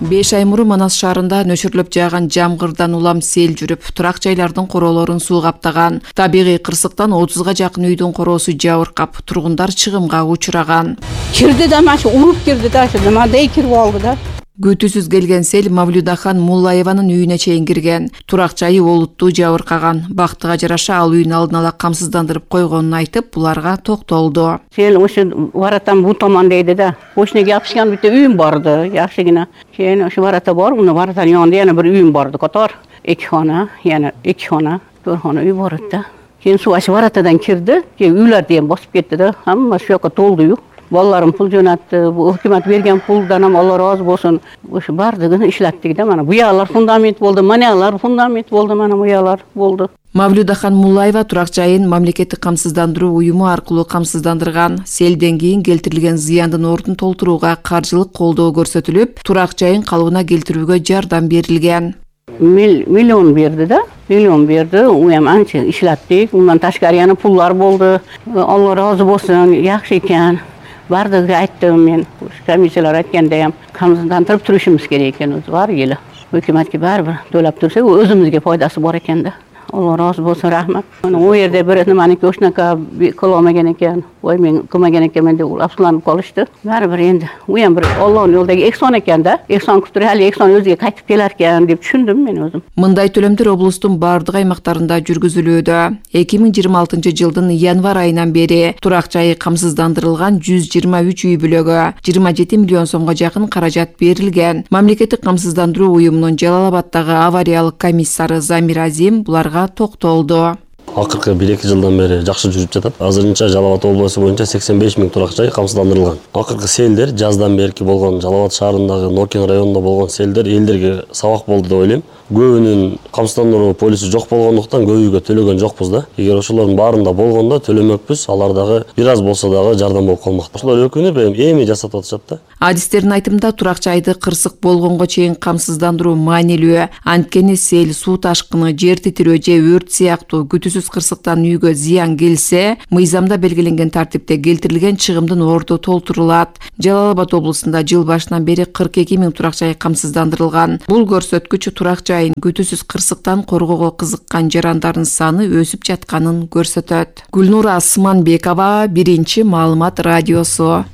5 ай мурун Манас шаарында нөшөрлөп жааган жамгырдан улам сел жүрүп, турак жайлардын короолорун суу каптаган. Табигый кырсыктан 30га жакын үйдүн короосу жабыркап, тургундар чыгымга учураган. Кирди да машы уруп кирди да, мындай кирип алды да. Күтүүсүз келген сел Мавлюдахан Муллаеванын үйүнө чейин кирген. Турак жайы олуттуу жабыркаган. Бактыга жараша ал үйүн алдын ала камсыздандырып койгонун айтып, буларга токтолду. Сел ошо варатан бу томон дейди да. Ошнеге жапышкан бүттө үйүм барды, жакшыгына. Кийин ошо варата бар, муну варатан янында яна бир үйүм барды, котор. 2 хона, яна 2 хона, 4 хона үй бар да. Кийин суу ошо варатадан кирди, кийин үйлөр деген басып кетти да. Хамма ошо жака толду. Балаларым пул жөнөттү, өкмөт берген пулдан Алла разы болсун. Ошо бардыгын иштеттик да, мана буялар фундамент болду, маналар фундамент болду, мана буялар болду. Мавлюдахан Муллаева турак жайын мамлекеттик камсыздандыруу уюму аркылуу камсыздандырган. Селден кийин келтирилген зыяндын ордун толтурууга каржылык колдоо көрсөтүлүп, турак жайын калыбына келтирүүгө жардам берилген. Миллион берди да, миллион берди. Уям анча иштеттик. Ундан ташкары яна пуллар болду. Алла разы болсун, жакшы экен. Бардыгы айттым мен, комиссиялар айткандай камсыздандырып турушубуз керек экен, бар эле. Өкмөткө баары төлөп турса, өзүбүзгө пайдасы бар экен да. Алла разы болсун, рахмат. О жерде бир неманики ошнака кылмаган экен. Ой, мен кылмаган экенмин деп апсуланып калышты. Баары бир энди уям бир Алланын жолдогу эксон экен да. Эксон күтүп али эксон өзүгө кайтып келер экен деп түшүндүм мен өзүм. Мындай төлөмдөр облустун бардык аймактарында жүргүзүлүүдө. 2026 жылдын январь айынан бери турак жайы камсыздандырылган 123 үй бүлөгө 27 миллион сомго жакын каражат берилген. Мамлекеттик камсыздандыруу уюмунун Жалал Абаддагы авариялык комиссары Замир Азим буларга токтолду. Акыркы 1-2 жылдан бери жакшы жүрүп жатат. Азырынча Жалал Абад облусу боюнча 85 000 турак жай камсыздандырылган. Акыркы селдер жаздан берки болгон Жалал Абад шаарындагы Нокин районунда болгон селдер элдерге сабак болду деп ойлойм. Көбүнүн камсыздандыруу полису жок болгондуктан көбүгө төлөгөн жокпуз да. Эгер ошолордун баарында болгондо төлөмөкпүз, алар дагы бир аз болсо дагы жардам болуп калмак. Ошолор өкүнүп эми жасап атышат да. Адистердин айтымында турак жайды кырсык болгонго чейин камсыздандыруу маанилүү. Анткени сел, суу ташкыны, жер титирөө же өрт сыяктуу күтүүсүз кырсыктан үйгө зыян келсе, мыйзамда белгиленген тартипте келтирилген чыгымдын орду толтурулат. Жалал Абад облусунда жыл башынан бери 42 000 турак жай камсыздандырылган. Бул көрсөткүч турак жайын күтүүсүз кырсыктан коргоого кызыккан жарандардын саны өсүп жатканын көрсөтөт. Гүлнура Асманбекова, Биринчи маалымат радиосу.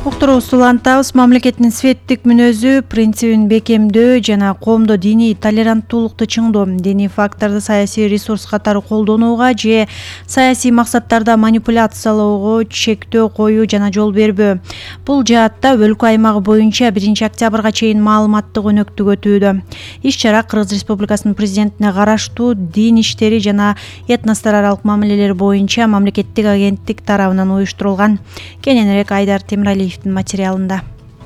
Уктуруубузду улантабыз. Мамлекеттин светтик мүнөзү, принцибин бекемдөө жана коомдо диний толеранттуулукту чыңдоо, диний факторду саясий ресурс катары колдонууга же саясий максаттарда манипуляциялоого чектөө коюу жана жол бербөө. Бул жаатта өлкө аймагы боюнча 1-октябрга чейин маалыматтык өнөктүк өтүүдө. Иш-чара Кыргыз Республикасынын президентине караштуу дин иштери жана этностор аралык мамилелер боюнча мамлекеттик агенттик тарабынан уюштурулган. Кененирээк Айдар Темиралиев материалында.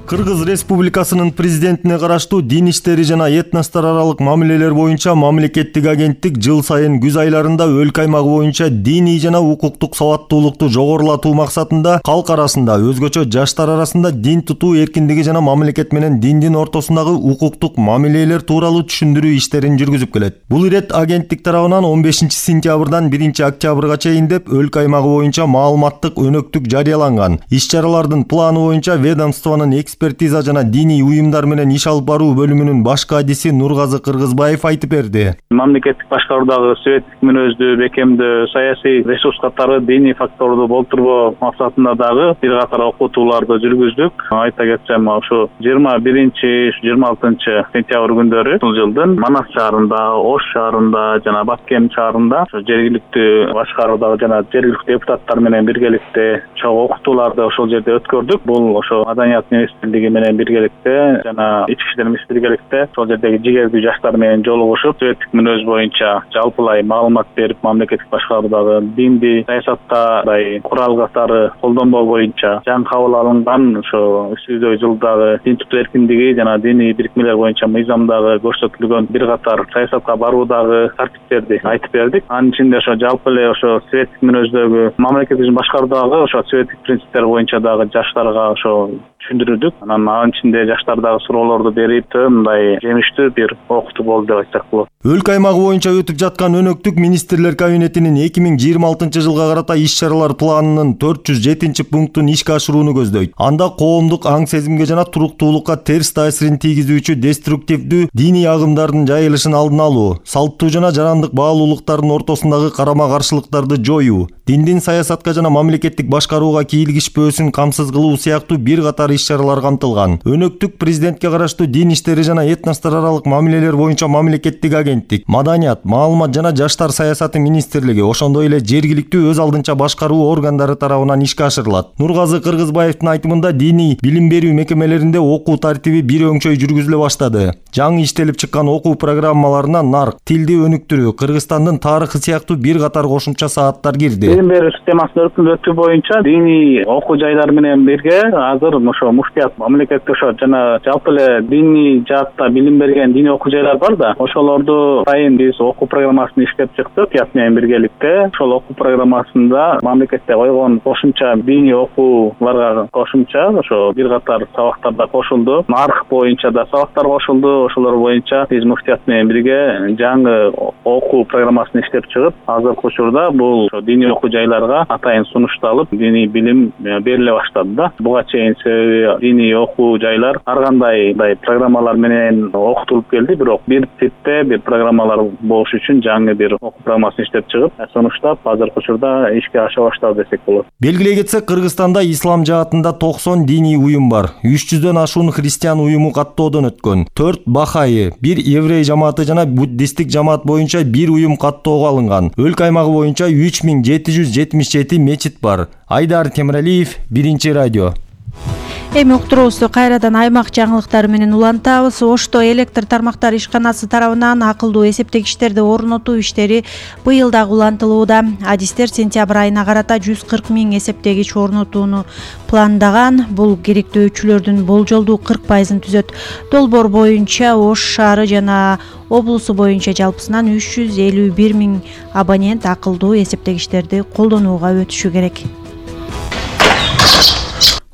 Кыргыз Республикасынын президентине караштуу дин иштери жана этностор аралык мамилелер боюнча мамлекеттик агенттик жыл сайын күз айларында өлкө аймагы боюнча диний жана укуктук сабаттуулукту жогорулатуу максатында калк арасында, өзгөчө жаштар арасында дин тутуу эркиндиги жана мамлекет менен диндин ортосундагы укуктук мамилелер тууралуу түшүндүрүү иштерин жүргүзүп келет. Бул ирет агенттик тарабынан 15 сентябрдан 1 октябрга чейин деп өлкө аймагы боюнча маалыматтык өнөктүк жарыяланган. Иш-чаралардын планы боюнча ведомствонун экспертиза жана диний уюмдар менен иш алып баруу бөлүмүнүн баш кадиси Нургазы Кыргызбаев айтып берди. Мамлекеттик башкаруудагы светтик мүнөздү бекемдөө, саясий ресурс катары диний факторду болтурбоо максатында дагы бир катар окутууларды жүргүздүк. Айта кетсем, ошо 21-26 сентябрь күндөрү бул жылдын Манас шаарында, Ош шаарында жана Баткен шаарында жергиликтүү башкаруудагы жана жергиликтүү депутаттар менен биргеликте чогуу окутууларды ошол жерде өткөрдүк. Бул ошо Маданият министрлиги менен биргеликте жана Ички иштер министрлиги биргеликте ошол жердеги жигердүү жаштар менен жолугушуп, светтик мүнөз боюнча жалпылай маалымат берип, мамлекеттик башкаруудагы динди саясатта курал катары колдонбоо боюнча жаңы кабыл алынган ошо өтүү жылдагы дин тутуу эркиндиги жана диний бирикмелер боюнча мыйзамдагы көрсөтүлгөн бир катар саясатка баруудагы тартиптерди айтып бердик. Анын ичинде ошо жалпы эле ошо светтик мүнөздөгү мамлекеттик башкаруудагы ошо светтик принциптер боюнча дагы жаштарга ошо түшүндүрдүк. Анын ичинде жаштар дагы суроолорду берип, мындай жемиштүү бир окутуу болду деп айтсак болот. Өлкө аймагы боюнча өтүп жаткан өнөктүк министрлер кабинетинин 2026 жылга карата иш-чаралар планынын 407 пунктун ишке ашырууну көздөйт. Анда коомдук аң сезимге жана туруктуулукка терс таасирин тийгизүүчү деструктивдүү диний агымдардын жайылышын алдын алуу, салттуу жана жарандык баалуулуктардын ортосундагы карама-каршылыктарды жоюу, диндин саясатка жана мамлекеттик башкарууга кийлигишпөөсүн камсыз кылуу сыяктуу бир катар иш-чаралар камтылган. Өнөктүк президентке караштуу дин иштери жана этностор аралык мамилелер боюнча мамлекеттик агенттик, Маданият, маалымат жана жаштар саясаты министрлиги, ошондой эле жергиликтүү өз алдынча башкаруу органдары тарабынан ишке ашырылат. Нургазы Кыргызбаевдин айтымында диний билим берүү мекемелеринде окуу тартиби бир өңчөй жүргүзүлө баштады. Жаңы иштелип чыккан окуу программаларына нарк, тилди өнүктүрүү, Кыргызстандын тарыхы сыяктуу бир катар кошумча сааттар кирди. Билим берүү системасын өркүндөтүү боюнча диний окуу жайлар менен бирге азыр ошо муфтият мамлекеттик ошо жана жалпы эле диний жаатта билим берген диний окуу жайлар бар да, ошолорду сайын биз окуу программасын иштеп чыктык ят менен биргеликте. Ошол окуу программасында мамлекетте койгон кошумча диний окууларга кошумча ошо бир катар сабактар да кошулду. Нарх боюнча да сабактар кошулду. Ошолор боюнча биз муфтият менен бирге жаңы окуу программасын иштеп чыгып, азыркы учурда бул диний окуу жайларга атайын сунушталып, диний билим бериле баштады да. Буга чейин себеби диний окуу жайлар ар кандай программалар менен окутулуп келди, бирок бир типте бир программалар болуш үчүн жаңы бир окуу программасын иштеп чыгып, сунуштап азыркы учурда ишке аша баштады десек болот. Белгилей кетсек, Кыргызстанда ислам жаатында 90 диний уюм бар. 300дөн ашуун христиан уюму каттоодон өткөн. 4 бахайы, 1 еврей жамааты жана буддисттик жамаат боюнча 1 уюм каттоого алынган. Өлкө аймагы боюнча 3777 мечит бар. Айдар Темиралиев, Биринчи радио. Эми уктуруубузду кайрадан аймак жаңылыктары менен улантабыз. Ошто электр тармактары ишканасы тарабынан акылдуу эсептегичтерди орнотуу иштери быйыл дагы улантылууда. Адистер сентябрь айына карата 140 000 эсептегич орнотууну пландаган. Бул керектөөчүлөрдүн болжолдуу 40%-ын түзөт. Долбоор боюнча Ош шаары жана облусу боюнча жалпысынан 351 000 абонент акылдуу эсептегичтерди колдонууга өтүшү керек.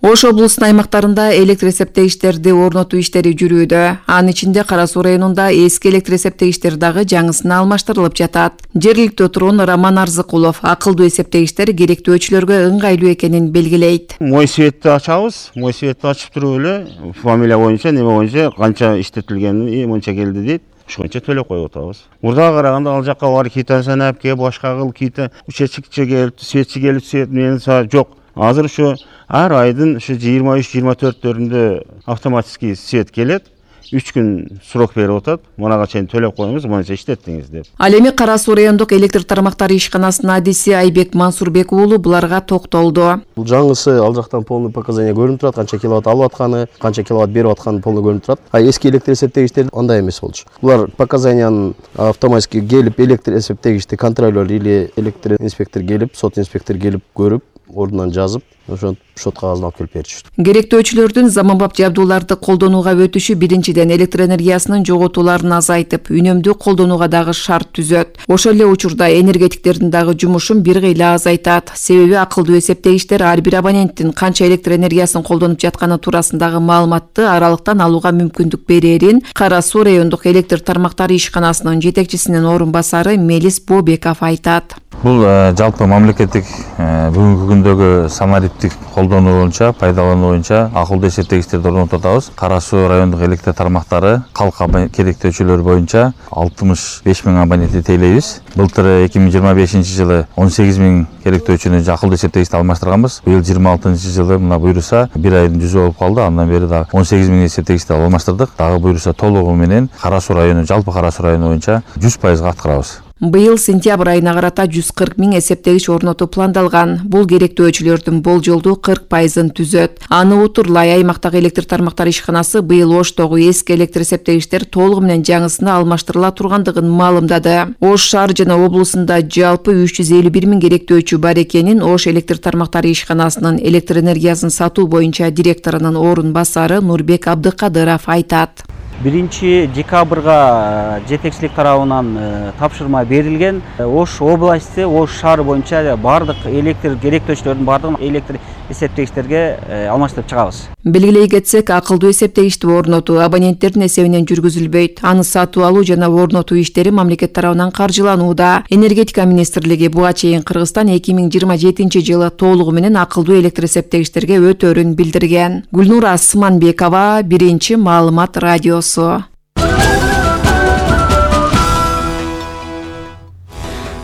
Ош облусунун аймактарында электр эсептегичтерди орнотуу иштери жүрүүдө. Анын ичинде Кара Суу районунда эски электр эсептегичтер дагы жаңысына алмаштырылып жатат. Жергиликтүү тургун Роман Арзыкулов акылдуу эсептегичтер керектөөчүлөргө ыңгайлуу экенин белгилейт. Мой светти ачабыз, мой светти ачып туруп эле фамилия боюнча, неме боюнча канча иштетилгенин мынча келди дейт. Ошончо төлөп коюп атабыз. Мурдага караганда ал жакка бар кийта санап келип, башка кыл кийта учетчикчи келип, светчи келип, свет менен жок. Азыр ушу ар айдын ушу 23-24-төрүндө автоматический свет келет. 3 күн срок берип атат. Мунага чейин төлөп коюңуз, мынча иштеттиңиз деп. Ал эми Кара Суу райондук электр тармактары ишканасынын адиси Айбек Мансурбек уулу буларга токтолду. Бул жаңысы ал жактан полный показания көрүнүп турат, канча киловатт алып атканы, канча киловатт берип атканы полный көрүнүп турат. А эски электр эсептегичтер андай эмес болчу. Булар показаниянын автоматически келип электр эсептегичти контролер или электр инспектор келип, сот инспектор келип көрүп, ордунан жазып, ошо шот кагазын алып келип беришти. Керектөөчүлөрдүн заманбап жабдууларды колдонууга өтүшү биринчиден электр энергиясынын жоготууларын азайтып, үнөмдүү колдонууга дагы шарт түзөт. Ошол эле учурда энергетиктердин дагы жумушун бир кыйла азайтат. Себеби акылдуу эсептегичтер ар бир абоненттин канча электр энергиясын колдонуп жатканы туурасындагы маалыматты аралыктан алууга мүмкүндүк берерин Кара Суу райондук электр тармактары ишканасынын жетекчисинин орун басары Мелис Бобеков айтат. Бул жалпы мамлекеттик бүгүнкү күндөгү самарит эффектив колдонуу боюнча, пайдалануу боюнча акылдуу эсептегичтерди орнотуп атабыз. Кара Суу райондук электр тармактары калк керектөөчүлөр боюнча 65 000 абонентти тейлейбиз. Былтыр 2025 жылы 18 000 керектөөчүнү акылдуу эсептегичти алмаштырганбыз. Быйыл 26 жылы мына буйруса бир айдын жүзү болуп калды. Андан бери дагы 18 000 эсептегичти алмаштырдык. Дагы буйруса толугу менен Кара Суу району, жалпы Кара Суу району боюнча 100% аткарабыз. Быйыл сентябрь айына карата 140 000 эсептегич орнотуу пландалган. Бул керектөөчүлөрдүн болжолдуу 40%-ын түзөт. Аны утурлай аймактагы электр тармактары ишканасы быйыл Оштогу эски электр эсептегичтер толугу менен жаңысына алмаштырыла тургандыгын маалымдады. Ош шаар жана облусунда жалпы 351 000 керектөөчү бар экенин Ош электр тармактары ишканасынын электр энергиясын сатуу боюнча директорунун орун басары Нурбек Абдыкадыров айтат. 1 декабрга жетекчилик тарабынан тапшырма берилген. Ош областы, Ош шаары боюнча бардык электр керектөөчүлөрдүн бардыгын электр эсептегичтерге алмаштырып чыгабыз. Белгилей кетсек, акылдуу эсептегичти орнотуу абоненттердин эсебинен жүргүзүлбөйт. Аны сатуу алуу жана орнотуу иштери мамлекет тарабынан каржыланууда. Энергетика министрлиги буга чейин Кыргызстан 2027 жылы толугу менен акылдуу электр эсептегичтерге өтөөрүн билдирген. Гүлнура Асманбекова, Биринчи маалымат радиосу.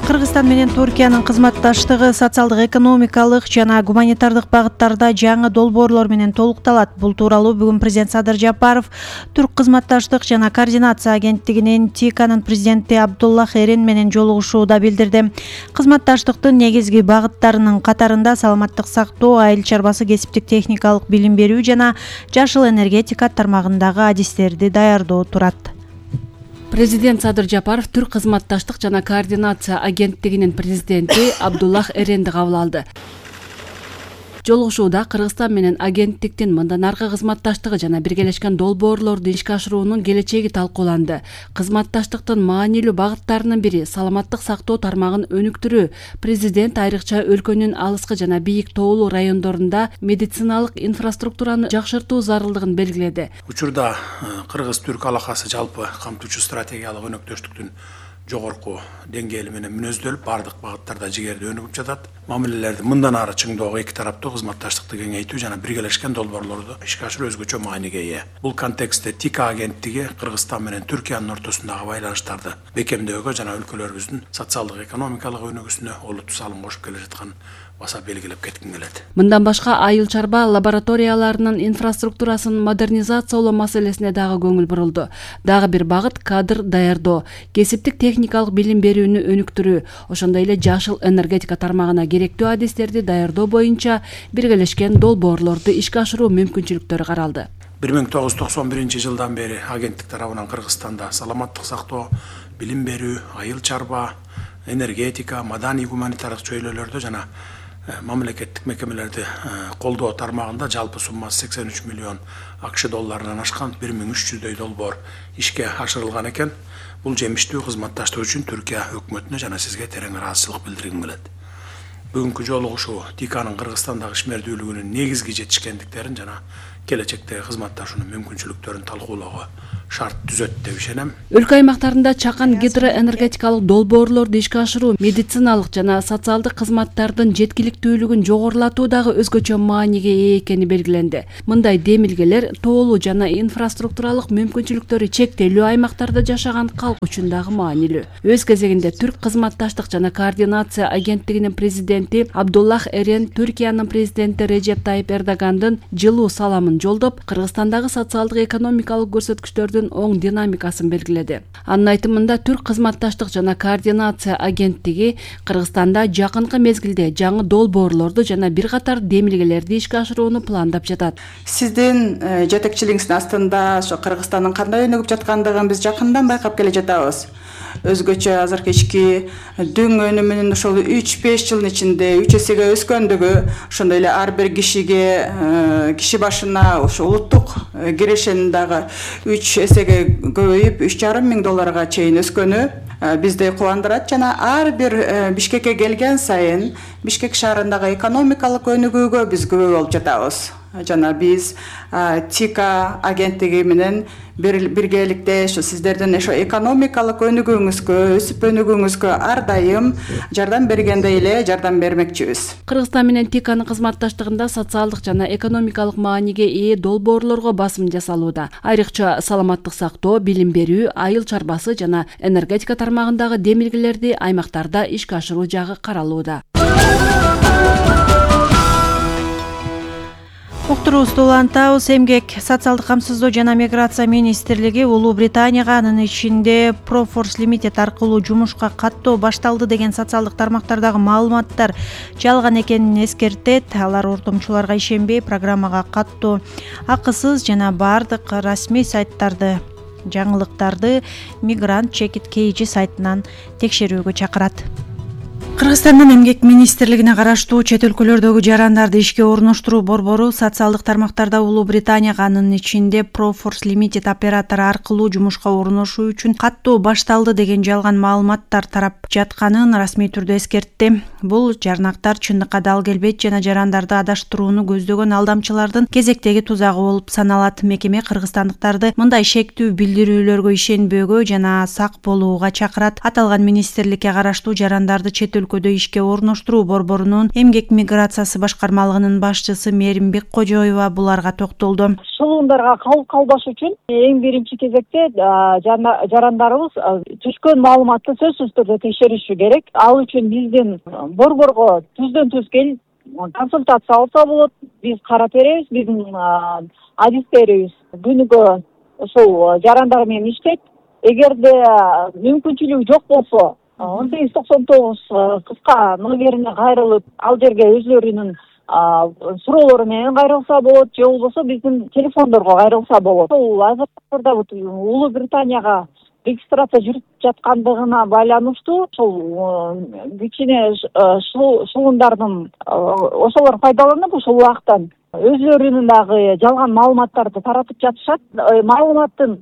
Кыргызстан менен Туркиянын кызматташтыгы социалдык, экономикалык жана гуманитардык багыттарда жаңы долбоорлор менен толукталат. Бул тууралуу бүгүн президент Садыр Жапаров Түрк кызматташтык жана координация агенттигинин ТИКанын президенти Абдуллах Эрен менен жолугушууда билдирди. Кызматташтыктын негизги багыттарынын катарында саламаттык сактоо, айыл чарбасы, кесиптик техникалык билим берүү жана жашыл энергетика тармагындагы адистерди даярдоо турат. Президент Садыр Жапаров Түрк кызматташтык жана координация агенттигинин президенти Абдуллах Эренди кабыл алды. Жолугушууда Кыргызстан менен агенттиктин мындан аркы кызматташтыгы жана биргелешкен долбоорлорду ишке ашыруунун келечеги талкууланды. Кызматташтыктын маанилүү багыттарынын бири саламаттык сактоо тармагын өнүктүрүү. Президент айрыкча өлкөнүн алыскы жана бийик тоолуу райондорунда медициналык инфраструктураны жакшыртуу зарылдыгын белгиледи. Учурда Кыргыз-Түрк алакасы жалпы камтуучу стратегиялык өнөктөштүктүн жогорку деңгээли менен мүнөздөлүп, бардык багыттарда жигерде өнүгүп жатат. Мамилелерди мындан ары чыңдоого эки тараптуу кызматташтыкты кеңейтүү жана биргелешкен долбоорлорду ишке ашыруу өзгөчө мааниге ээ. Бул контекстте ТИКа агенттиги Кыргызстан менен Түркиянын ортосундагы байланыштарды бекемдөөгө жана өлкөлөрүбүздүн социалдык, экономикалык өнүгүүсүнө олуттуу салым кошуп келе жаткан баса белгилеп кетким келет. Мындан башка айыл чарба лабораторияларынын инфраструктурасын модернизациялоо маселесине дагы көңүл бурулду. Дагы бир багыт кадр даярдоо, кесиптик техникалык билим берүүнү өнүктүрүү, ошондой эле жашыл энергетика тармагына керектүү адистерди даярдоо боюнча биргелешкен долбоорлорду ишке ашыруу мүмкүнчүлүктөрү каралды. 1991 жылдан бери агенттик тарабынан Кыргызстанда саламаттык сактоо, билим берүү, айыл чарба, энергетика, маданий гуманитардык чөйрөлөрдө жана мамлекеттик мекемелерди колдоо тармагында жалпы суммасы 83 миллион АКШ долларынан ашкан 1300дөй долбоор ишке ашырылган экен. Бул жемиштүү кызматташтык үчүн Түркия өкмөтүнө жана сизге терең ыраазычылык билдиргим келет. Бүгүнкү жолугушуу ТИКанын Кыргызстандагы ишмердүүлүгүнүн негизги жетишкендиктерин жана келечектеги кызматташуунун мүмкүнчүлүктөрүн талкуулоого шарт түзөт деп ишенем. Өлкө аймактарында чакан гидроэнергетикалык долбоорлорду ишке ашыруу медициналык жана социалдык кызматтардын жеткиликтүүлүгүн жогорулатуу дагы өзгөчө мааниге ээ экени белгиленди. Мындай демилгелер тоолуу жана инфраструктуралык мүмкүнчүлүктөрү чектелүү аймактарда жашаган калк үчүн дагы маанилүү. Өз кезегинде Түрк кызматташтык жана координация агенттигинин президенти Абдуллах Эрен Түркиянын президенти Режеп Тайип Эрдогандын жылуу саламын жолдоп, Кыргызстандагы социалдык экономикалык көрсөткүчтөрдүн оң динамикасын белгиледи. Анын айтымында Түрк кызматташтык жана координация агенттиги Кыргызстанда жакынкы мезгилде жаңы долбоорлорду жана бир катар демилгелерди ишке ашырууну пландап жатат. Сиздин жетекчилигиңиздин астында ошо Кыргызстандын кандай өнүгүп жаткандыгын биз жакындан байкап келе жатабыз. Өзгөчө азыркы ички дүң өнүмүнүн ошол 3-5 жылдын ичинде 3 эсеге өскөндүгү, ошондой эле ар бир кишиге киши башына ошо улуттук кирешенин дагы 3 эсеге көбөйүп $3,5 миң чейин өскөнү бизди кубандырат жана ар бир Бишкекке келген сайын Бишкек шаарындагы экономикалык өнүгүүгө биз күбө болуп жатабыз. жана биз ТИКа агенттиги менен биргеликте ошо сиздердин ошо экономикалык өнүгүүңүзгө, өсүп өнүгүүңүзгө ар дайым жардам бергендей эле жардам бермекчибиз. Кыргызстан менен ТИКанын кызматташтыгында социалдык жана экономикалык мааниге ээ долбоорлорго басым жасалууда. Айрыкча саламаттык сактоо, билим берүү, айыл чарбасы жана энергетика тармагындагы демилгелерди аймактарда ишке ашыруу жагы каралууда. Уктуруубузду улантабыз. Эмгек, социалдык камсыздоо жана миграция министрлиги Улуу Британияга анын ичинде Proforce Limited аркылуу жумушка каттоо башталды деген социалдык тармактардагы маалыматтар жалган экенин эскертет. Алар ортомчуларга ишенбей, программага каттоо акысыз жана бардык расмий сайттарды, жаңылыктарды Migrant Check It KG сайтынан текшерүүгө чакырат. Кыргызстандын эмгек министрлигине караштуу чет өлкөлөрдөгү жарандарды ишке орноштуруу борбору социалдык тармактарда Улуу Британияга анын ичинде Proforce Limited оператору аркылуу жумушка орношуу үчүн каттоо башталды деген жалган маалыматтар тарап жатканын расмий түрдө эскертти. Бул жарнактар чындыкка дал келбейт жана жарандарды адаштырууну көздөгөн алдамчылардын кезектеги тузагы болуп саналат. Мекеме кыргызстандыктарды мындай шектүү билдирүүлөргө ишенбөөгө жана сак болууга чакырат. Аталган министрликке караштуу жарандарды чет өлкөдө ишке орноштуруу борборунун эмгек миграциясы башкармалыгынын башчысы Меримбек Кожоева буларга токтолду. Шылуундарга кабыл калбаш үчүн эң биринчи кезекте жарандарыбыз түшкөн маалыматты сөзсүз түрдө текшериши керек. Ал үчүн биздин борборго түздөн-түз келип консультация алса болот. Биз карап беребиз, биздин адистерибиз күнүгө ушул жарандар менен иштейт. Эгерде мүмкүнчүлүгү жок болсо 1899 кыска номерине кайрылып, ал жерге өзлөрүнүн суроолору менен кайрылса болот, же болбосо биздин телефондорго кайрылса болот. Ул азыркыда Улуу Британияга регистрация жүрүп жаткандыгына байланыштуу ошол кичине шылуундардын ошолор пайдаланып ушул убактан өзлөрүнүн дагы жалган маалыматтарды таратып жатышат. Маалыматтын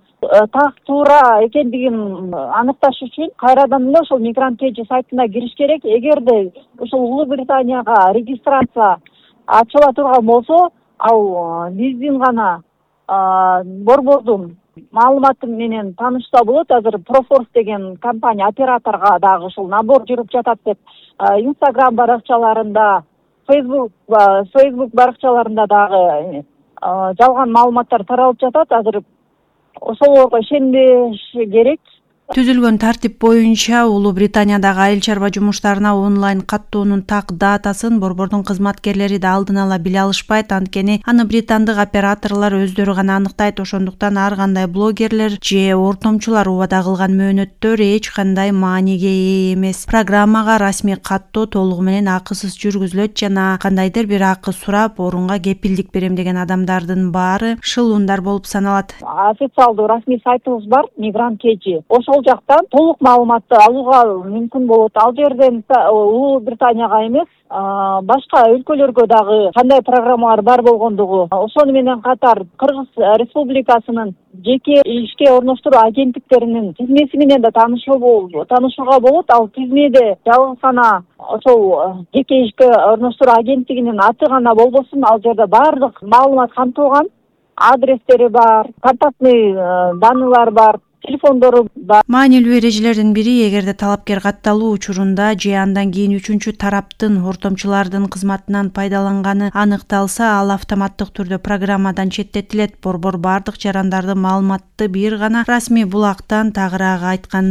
так туура экендигин аныкташ үчүн кайрадан эле ошол Migrant KG сайтына кириш керек. Эгерде ушул Улуу Британияга регистрация ачыла турган болсо, ал биздин гана борбордун маалыматы менен таанышса болот. Азыр Proforce деген компания операторга дагы ушул набор жүрүп жатат деп Instagram баракчаларында, Facebook баракчаларында дагы жалган маалыматтар таралып жатат. Азыр ошолорго ишенбеш керек. Түзүлгөн тартип боюнча Улуу Британиядагы айыл чарба жумуштарына онлайн каттоонун так датасын борбордун кызматкерлери да алдын ала биле алышпайт. Анткени аны британдык операторлор өздөрү гана аныктайт. Ошондуктан ар кандай блогерлер же ортомчулар убада кылган мөөнөттөр эч кандай мааниге ээ эмес. Программага расмий каттоо толугу менен акысыз жүргүзүлөт жана кандайдыр бир акы сурап, орунга кепилдик берем деген адамдардын баары шылуундар болуп саналат. Официалдуу расмий сайтыбыз бар, Migrant KG. Ошол жактан толук маалыматты алууга мүмкүн болот. Ал жерден Улуу Британияга эмес, башка өлкөлөргө дагы кандай программалар бар болгондугу, ошону менен катар Кыргыз Республикасынын жеке ишке орноштуруу агенттиктеринин тизмеси менен да таанышууга болот. Ал тизмеде жалгыз гана ошол жеке ишке орноштуруу агенттигинин аты гана болбосун, ал жерде баардык маалымат камтылган, адрестери бар, контактный данныйлар бар, телефондору бар. Маанилүү эрежелердин бири, эгерде талапкер катталуу учурунда же андан кийин үчүнчү тараптын ортомчулардын кызматынан пайдаланганы аныкталса, ал автоматтык түрдө программадан четтетилет. Борбор бардык жарандарды маалыматты бир гана расмий булактан, тагыраак айтканда